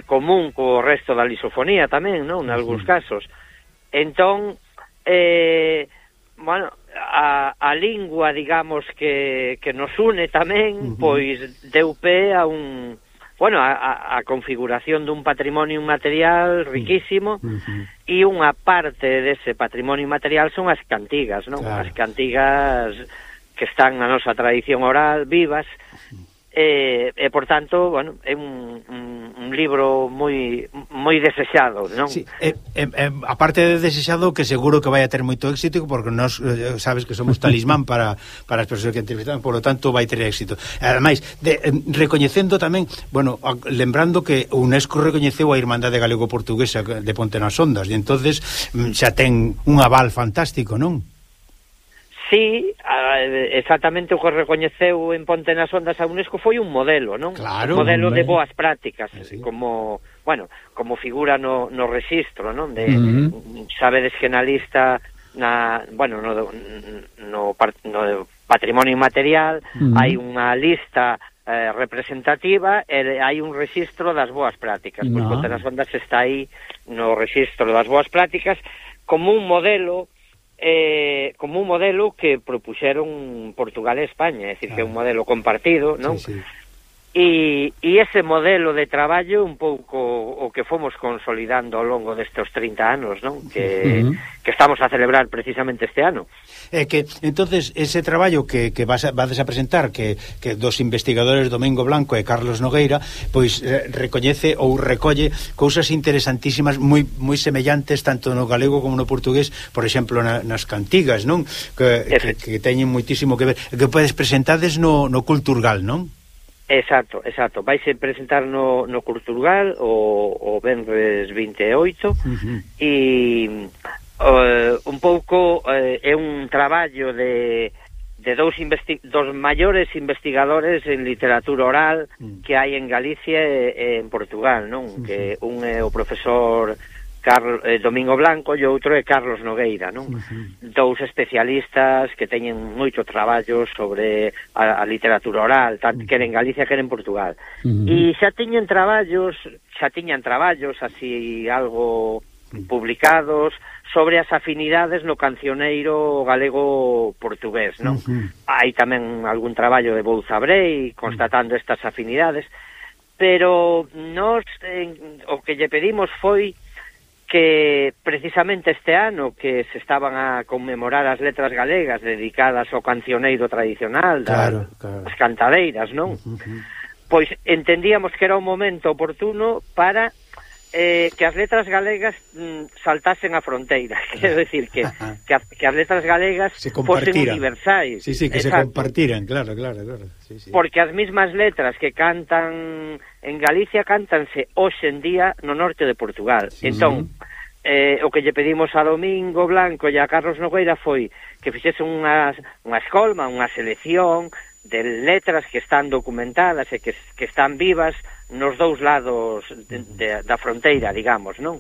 común co resto da lisofonía tamén, non? En algúns casos. Entón, a lingua, digamos, que nos une tamén, pois deu pé a a configuración dun patrimonio material riquísimo, e unha parte dese patrimonio material son as cantigas, non? Claro. As cantigas que están na nosa tradición oral, vivas, e por tanto, é un libro moi desexado, non? Sí, aparte de desexado, que seguro que vai a ter moito éxito, porque nós sabes que somos talismán para as persoas que entrevistan, por lo tanto vai ter éxito. Ademais, recoñecendo tamén, lembrando que UNESCO recoñeceu a Irmandade Galego-Portuguesa de Ponte nas Ondas, e entonces xa ten un aval fantástico, non? Sí, exactamente o que recoñeceu en Ponte nas Ondas a UNESCO foi un modelo, non? Claro, un modelo de boas prácticas, como figura no rexistro, non? Sabedes que na lista no patrimonio inmaterial hai unha lista representativa e hai un rexistro das boas prácticas. Pois Ponte nas Ondas está aí no rexistro das boas prácticas como un modelo que propuxeron Portugal e España, é dicir, que é un modelo compartido, non? Sí, sí. E ese modelo de traballo un pouco o que fomos consolidando ao longo destes 30 anos, non? Que estamos a celebrar precisamente este ano. Que entonces ese traballo que vades a presentar, que dos investigadores Domingo Blanco e Carlos Nogueira, pois recoñece ou recolle cousas interesantísimas moi semellantes tanto no galego como no portugués, por exemplo nas cantigas, non? Que teñen moitísimo que ver, que podes presentades no Culturgal, non? Exacto. Vaise presentar no Culturgal o venres 28 e un pouco é un traballo de dos maiores investigadores en literatura oral que hai en Galicia e en Portugal, non? Que un é o profesor Domingo Blanco e outro é Carlos Nogueira, non? Dous especialistas que teñen moito traballo sobre a literatura oral, tanto quer en Galicia quer en Portugal. E xa tiñan traballos así algo publicados sobre as afinidades no cancioneiro galego-portugués, non? Hai tamén algún traballo de Bouza Brei constatando estas afinidades, pero nós o que lle pedimos foi que precisamente este ano que se estaban a conmemorar as letras galegas dedicadas ao cancioneiro tradicional das cantadeiras, non? Pois entendíamos que era un momento oportuno para que as letras galegas saltasen a fronteira, quero decir que as letras galegas fosen universais. Sí, que se compartiran, claro. Sí. Porque as mismas letras que cantan en Galicia cántanse hoxe en día no norte de Portugal. Entón, o que lle pedimos a Domingo Blanco e a Carlos Nogueira foi que fixesen unha escolma, unha selección de letras que están documentadas e que están vivas nos dous lados da fronteira, digamos, non?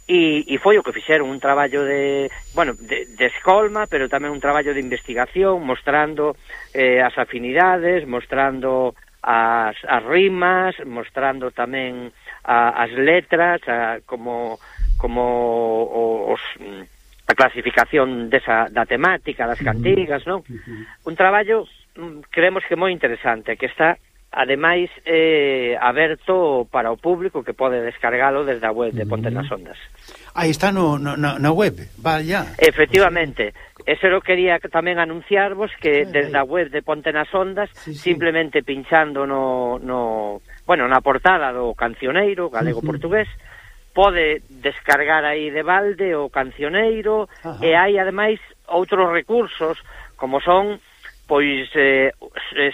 E foi o que fixeron, un traballo de escolma, pero tamén un traballo de investigación, mostrando as afinidades, mostrando as rimas, mostrando tamén as letras, como a clasificación da temática das cantigas, non? Un traballo creemos que moi interesante, que está ademais aberto para o público que pode descargalo desde a web de Ponte nas Ondas. Aí está na web, vaya. Efectivamente, eso lo quería tamén anunciarvos que desde a web de Ponte nas Ondas, simplemente pinchando na portada do cancioneiro galego-portugués, pode descargar aí de balde o cancioneiro. E hai ademais outros recursos como son pois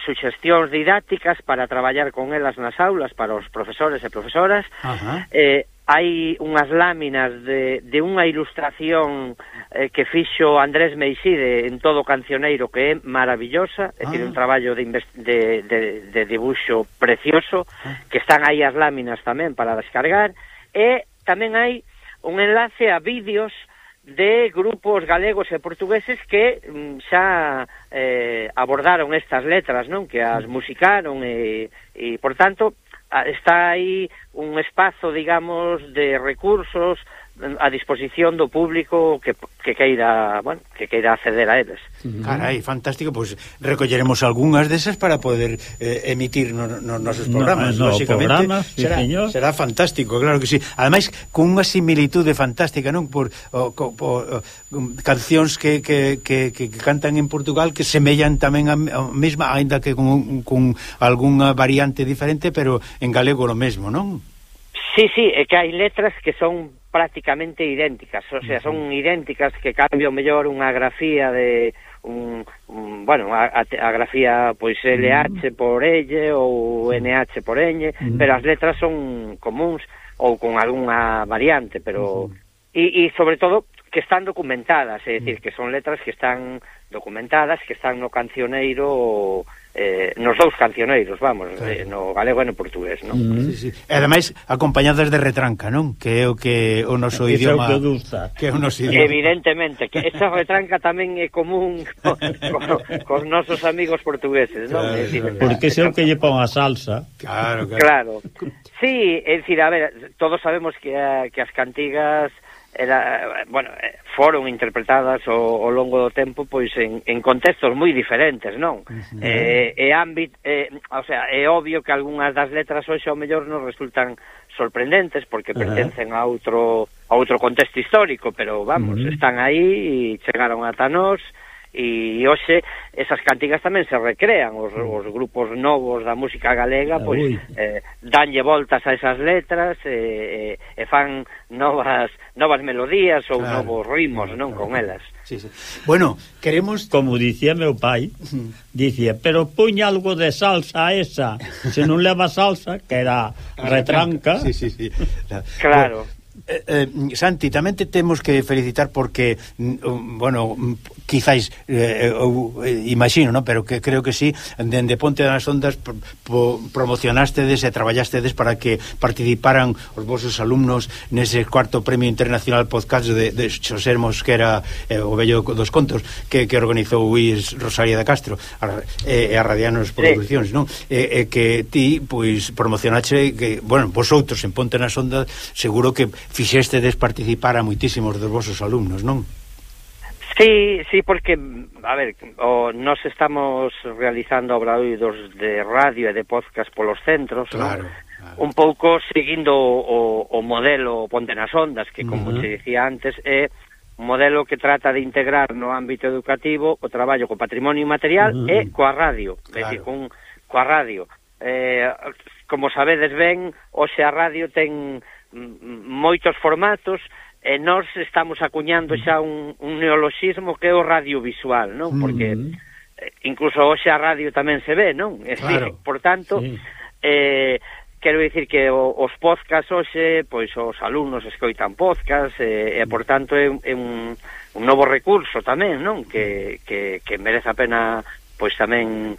suxestións didácticas para traballar con elas nas aulas para os profesores e profesoras. Hai unhas láminas de unha ilustración que fixo Andrés Meixide en todo o cancioneiro que é maravillosa, é dicir, un traballo de dibuixo precioso, que están aí as láminas tamén para descargar. E tamén hai un enlace a vídeos de grupos galegos e portugueses que xa abordaron estas letras, non? Que as musicaron e por tanto, está aí un espazo, digamos, de recursos a disposición do público que queira acceder a eles. Carai, fantástico, pois recolleremos algunhas desas para poder emitir nos nosos programas, lógicamente. Será fantástico, claro que sí. Ademais, con unha similitude fantástica, non? Por cancións que cantan en Portugal que semellan tamén a mesma, aínda que con algunha variante diferente, pero en galego lo mesmo, non? Sí, é que hai letras que son prácticamente idénticas, o sea, son idénticas, que cambio mellor unha grafía de a grafía pois LH por L ou NH por Ñ, pero as letras son comuns ou con algunha variante, pero e sobre todo que están documentadas, é dicir, que son letras que están documentadas, que están no cancioneiro, nos dous cancioneiros, vamos, no galego e no portugués, non? E ademais acompañadas de retranca, non? Que é o que o noso idioma que é o noso idioma. Evidentemente, que esa retranca tamén é común cos nosos amigos portugueses, non? Porque é o que lle pon a salsa. Claro. Sí, é dicir, a ver, todos sabemos que as cantigas foron interpretadas ao longo do tempo pois en contextos moi diferentes, non? É obvio que algunhas das letras hoxe ao mellor nos resultan sorprendentes porque pertencen a outro contexto histórico, pero vamos, están aí e chegaron ata nós. E hoxe esas cantigas tamén se recrean, os grupos novos da música galega pois danlle voltas a esas letras e fan novas melodías ou novos ritmos, non, con elas. Bueno, queremos, como dicía meu pai, dicía, pero puña algo de salsa a esa, se non leva salsa, que era retranca. Claro. Santi, tamén te temos que felicitar porque quizáis imagino, ¿no? Pero que creo que sí, dende Ponte nas Ondas promocionastedes e traballastedes para que participaran os vosos alumnos nese cuarto Premio Internacional Podcast de Xosé Mosquera, o vello dos contos que organizou Luis Rosaria de Castro e a Radianos Producións, non? Que ti, pois, promocionaste que, vosotros en Ponte nas Ondas seguro que fixestedes participar a moitísimos dos vosos alumnos, non? Sí, porque, a ver, nós estamos realizando obradoiros de radio e de podcast polos centros, claro. Un pouco seguindo o modelo Ponte nas Ondas, que, como te dicía antes, é un modelo que trata de integrar no ámbito educativo o traballo co patrimonio inmaterial e coa radio, é dicir, coa radio. Como sabedes ben, hoxe a radio ten moitos formatos e nós estamos acuñando xa un neoloxismo que é o radiovisual, non? Porque incluso hoxe a radio tamén se ve, non? Claro. Por tanto, quero dicir que os podcasts hoxe, pois os alumnos escoitan podcasts e por tanto é un novo recurso tamén, non? Que merece a pena pois tamén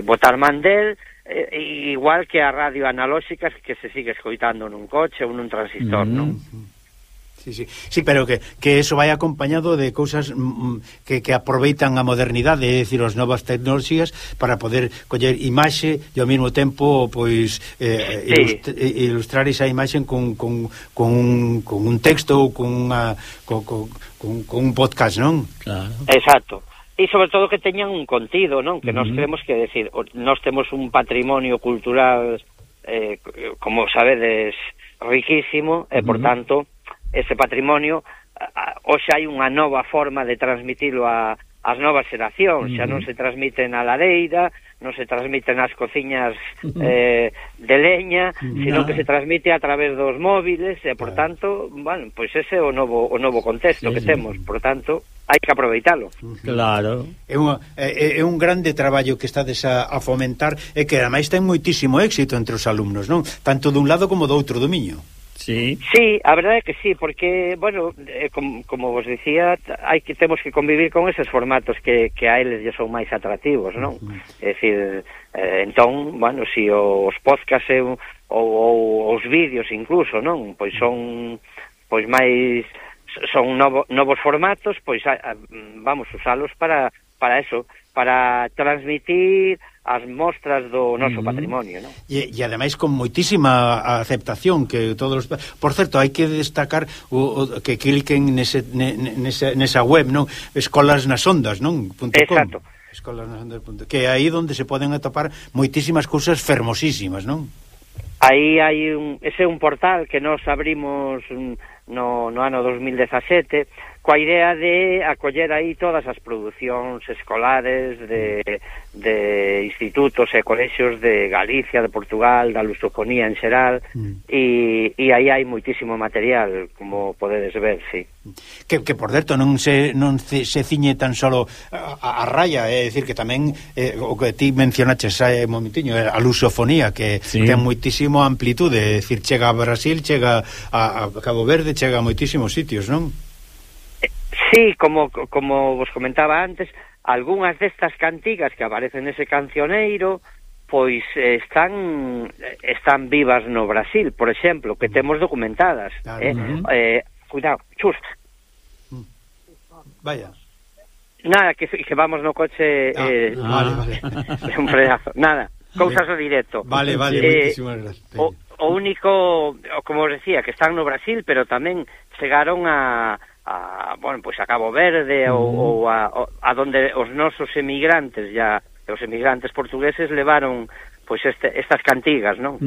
botar man del, igual que a radio analóxica que se sigue escoitando nun coche ou nun transistor, non? Sí, pero que eso vai acompañado de cousas que aproveitan a modernidade, é dicir, as novas tecnoloxías para poder coller imaxe e ao mesmo tempo pois ilustrar esa imaxe con un texto ou con un podcast, non? Claro. Exacto. E sobre todo que teñan un contido, non? Que nós creemos que, decir, nós temos un patrimonio cultural, como sabedes, riquísimo, e, por tanto, ese patrimonio, hoxe hai unha nova forma de transmitilo ás novas xeracións, xa non se transmite na lareira, non se transmite nas cociñas de leña, sino que se transmite a través dos móviles, e, por tanto, bueno, pois ese é o novo contexto que temos, por tanto, hai que aproveitalo. Claro. É un grande traballo que estades a fomentar e que ademais ten moitísimo éxito entre os alumnos, non? Tanto dun lado como do outro do Miño. Sí. Sí, a verdade é que sí, porque, bueno, como vos dicía, temos que convivir con eses formatos que a eles lle son máis atractivos, non? É dicir, entón, bueno, si os podcasts ou os vídeos incluso, non? Pois son máis, son novos formatos, pois vamos usalos para eso, para transmitir as mostras do noso patrimonio, non? E ademais con moitísima aceptación que todos os... Por certo, hai que destacar que cliquen nesa web, non? Escolas nas ondas, non? Exacto. Escolasnasondas.com, que é aí onde se poden atopar moitísimas cousas fermosísimas, non? Aí hai ese é un portal que nos abrimos no ano 2017 coa idea de acoller aí todas as producións escolares de institutos e colexios de Galicia, de Portugal, da lusofonía en xeral, e aí hai moitísimo material, como podedes ver, sí. Que por certo non se ciñe tan solo a raya, é dicir que tamén o que ti mencionaches hai un momentiño, a lusofonía, que ten moitísimo amplitude, é dicir, chega a Brasil, chega a Cabo Verde, chega a moitísimos sitios, non? Sí, como vos comentaba antes, algunhas destas cantigas que aparecen nese cancioneiro, pois están vivas no Brasil, por exemplo, que temos documentadas. Cuidado, chus. Vaya. Nada, que vamos no coche... Vale. Un frenazo. Nada, cousas do directo. Vale, moitísimas gracias. O único, como os decía, que están no Brasil, pero tamén chegaron bueno, pois a Cabo Verde ou a donde os nosos emigrantes os emigrantes portugueses levaron pois estas cantigas, non?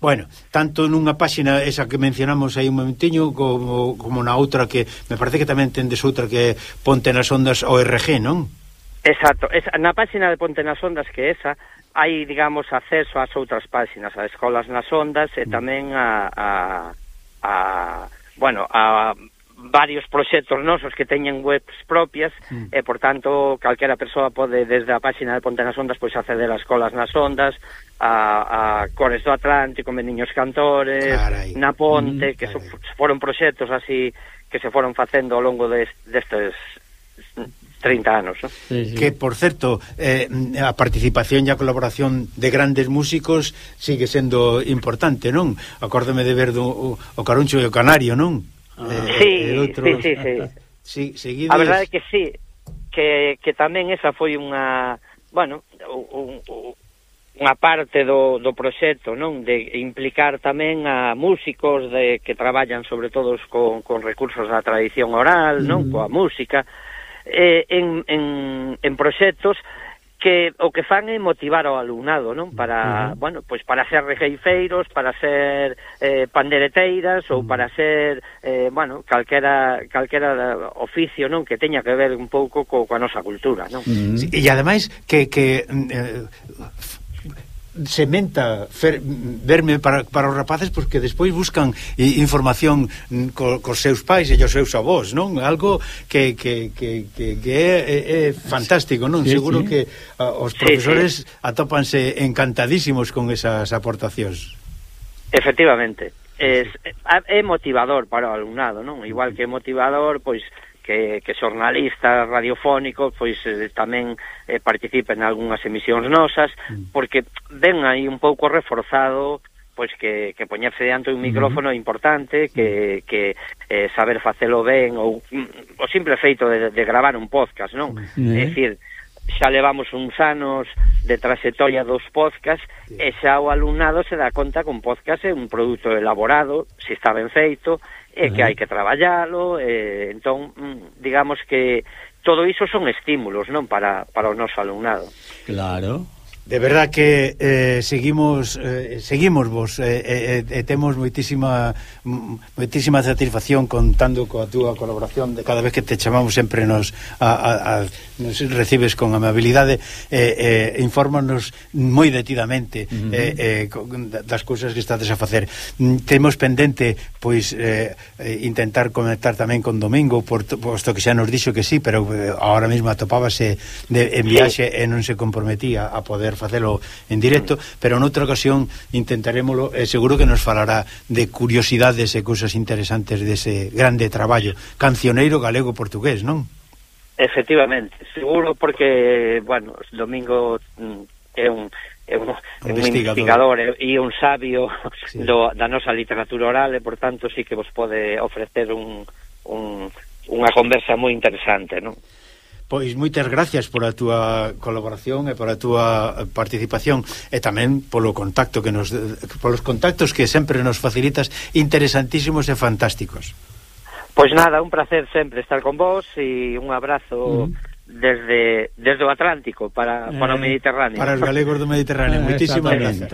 Bueno, tanto nunha páxina esa que mencionamos aí un momentiño como na outra que me parece que tamén tendes outra que Ponte nas Ondas ORG, non? Exacto, na páxina de Ponte nas Ondas que esa hai, digamos, acceso ás outras páxinas, a Escolas nas Ondas e tamén a varios proxectos nosos que teñen webs propias e, por tanto, calquera persoa pode, desde a páxina de Ponte nas Ondas, pois acceder a Escolas nas Ondas, a Cores do Atlántico, Meniños Cantores, na Ponte, que foron proxectos así que se foron facendo ao longo destes 30 anos, ¿no? Sí. Que, por certo, a participación e a colaboración de grandes músicos sigue sendo importante, non? Acórdame de ver o Caruncho e o Canario, non? Sí. A verdade é que sí, que tamén esa foi unha, bueno, unha parte do proxecto, non? De implicar tamén a músicos que traballan sobre todo con recursos da tradición oral, non? Coa música, en proxectos que o que fan é motivar ao alumnado, non? Para, bueno, pois para ser regueifeiros, para ser pandereteiras ou para ser, bueno, calquera oficio, non? Que teña que ver un pouco coa nosa cultura, non? Sí, e ademais que sementa verme para os rapaces porque despois buscan información cos seus pais e os seus avós, non? Algo que é fantástico, non? Sí, seguro que os profesores atópanse encantadísimos con esas aportacións. Efectivamente, é motivador para o alumnado, non? Igual que é motivador, pois que xornalistas radiofónicos pois tamén participen en algunhas emisións nosas, porque ven aí un pouco reforzado pois que poñerse diante un micrófono é importante, que saber facelo ben, ou o simple feito de gravar un podcast, non? É dicir, xa levamos uns anos de trayectoria dos podcasts e xa o alumnado se dá conta que un podcast é un produto elaborado, se está ben feito, e que hai que traballalo, entón, digamos que todo iso son estímulos, non, para o noso alumnado. Claro. De verdad que seguimos vos temos moitísima satisfacción contando coa túa colaboración de cada vez que te chamamos sempre nos recibes con amabilidade infórmanos moi detidamente das cousas que estades a facer. Temos pendente pois intentar conectar tamén con Domingo posto que xa nos dixo que sí, pero ahora mesmo atopábase en viaxe e non se comprometía a poder facelo en directo, pero noutra ocasión intentaremoslo, seguro que nos falará de curiosidades e cousas interesantes dese grande traballo cancioneiro galego-portugués, non? Efectivamente, seguro, porque, bueno, Domingo é un investigador e un sabio da nosa literatura oral, e, por tanto, sí que vos pode ofrecer unha conversa moi interesante, non? Pois moitas gracias por a túa colaboración e por a túa participación e tamén polos contactos que sempre nos facilitas, interesantísimos e fantásticos. Pois nada, un placer sempre estar con vos e un abrazo desde o Atlántico para o Mediterráneo. Para os galegos do Mediterráneo. Moitísimas gracias.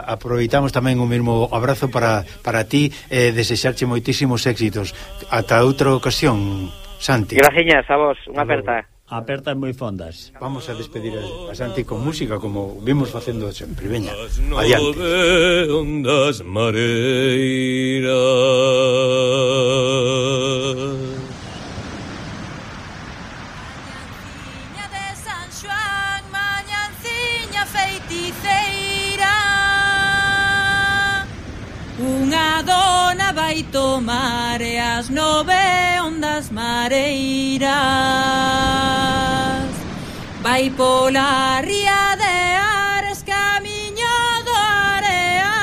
Aproveitamos tamén o mesmo abrazo para ti e desexarche moitísimos éxitos. Ata outra ocasión, Santi. Graciñas a vos, unha aperta. Apertas moi fondas. Vamos a despedir a Santi con música como vimos facendo sempre. Veña, adiante. Ondas mareiras, Mañanciña de San Xoán, mañanciña feiticeira, unha dona vai tomar e as 9 ondas mareiras, vai pola ría de Ares, camiño do areal,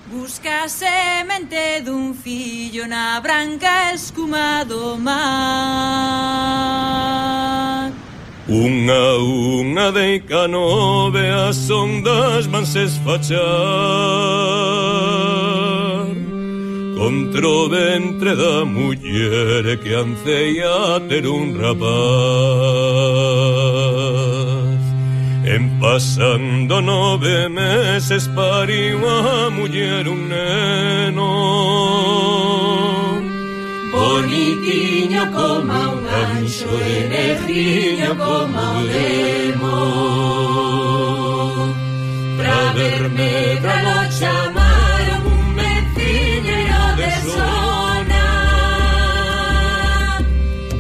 busca a semente dun fillo na branca escuma do mar. unha deica 9 as ondas vanse esfachar contra o ventre da muller que anceia ter un rapaz. En pasando 9 meses pariu a muller un neno, Bonitiño como un anxo e negriño como un demo, pra verme pra lo chamaron un veciñeiro de zona,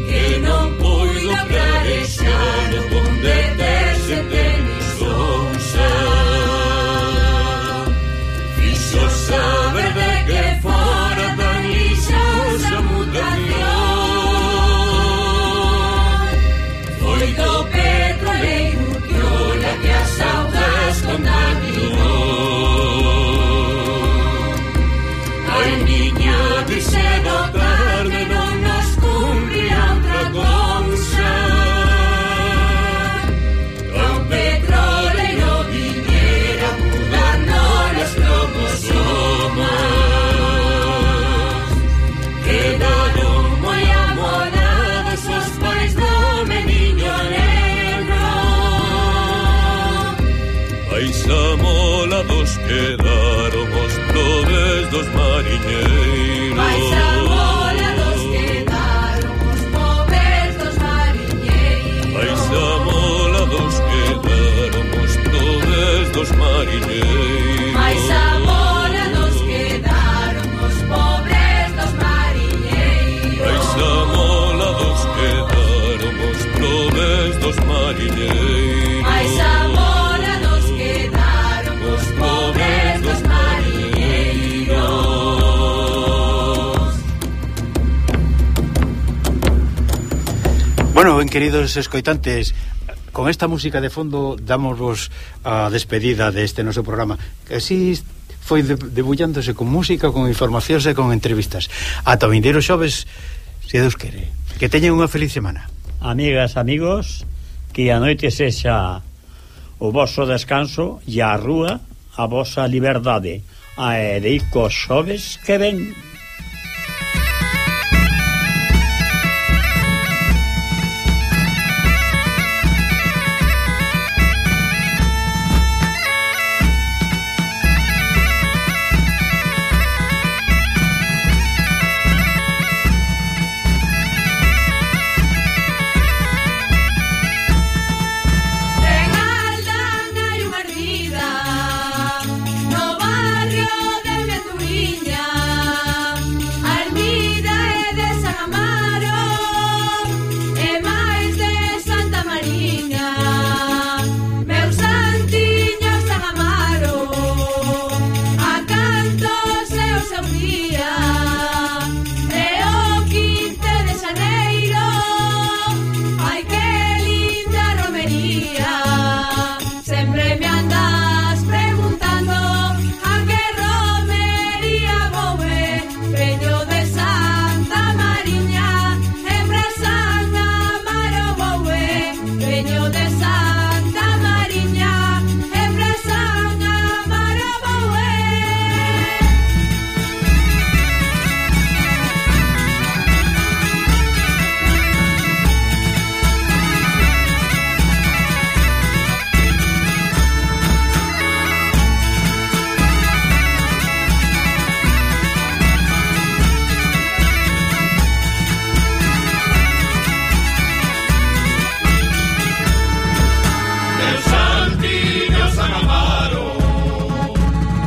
que non puido clarexar onde terse tenisonsa, fixo saber de que fora tan lixosa mutación, foi do petroleiro Piola que as augas contaminou. Ai, niña, dixe do tarde non nos cumpría outra cousa, ao petroleiro viñera mudarnos os cromosomas, quedaron moi amorados os pais do meniño negro.Ais amolados quedaron os probes dos mariñeiros. Mais amolados quedaron os pobres dos mariñeiros. Mais amolados quedaron os probes dos mariñeiros. Mais amolados quedaron os pobres dos mariñeiros. Mais amolados quedaron os probes dos mariñeiros. Mais amolados quedaron os pobres dos mariñeiros. Bueno, ben queridos escoitantes, con esta música de fondo damosvos a despedida deste noso programa, que así foi debullándose con música, con informacións e con entrevistas. Ata o vindeiro xoves, se Deus quere. Que teñen unha feliz semana. Amigas, amigos, que a noite sexa o voso descanso e a rúa a vosa liberdade. A Erico xoves que ven.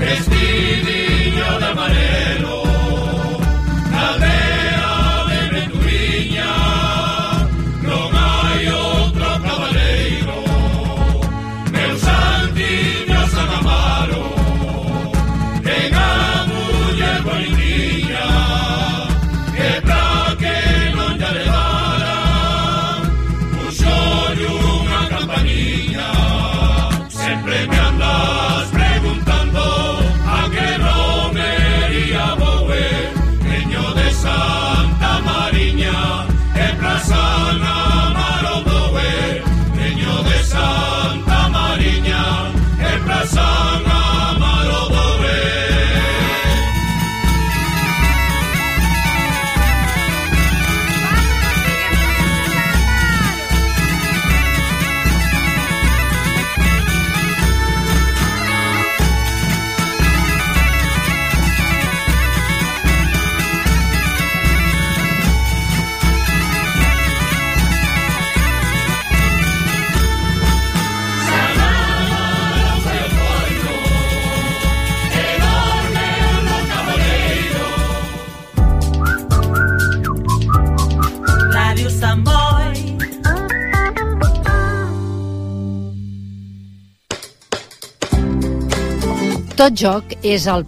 vestidinho de amarelo, na aldea de Menturiña non hai outro cabaleiro, meu santiño San Amaro, ten a muller bonitiña, que pra que non lla levara, puxolle unha campaniña, sempre me andas preguntando a que romería vou ver, veño de Santa Mariña, e pra San Amaro vou ver, veño de Santa Mariña, e pra San Amaro vou ver. Ràdio Sant Boi. Tot joc és el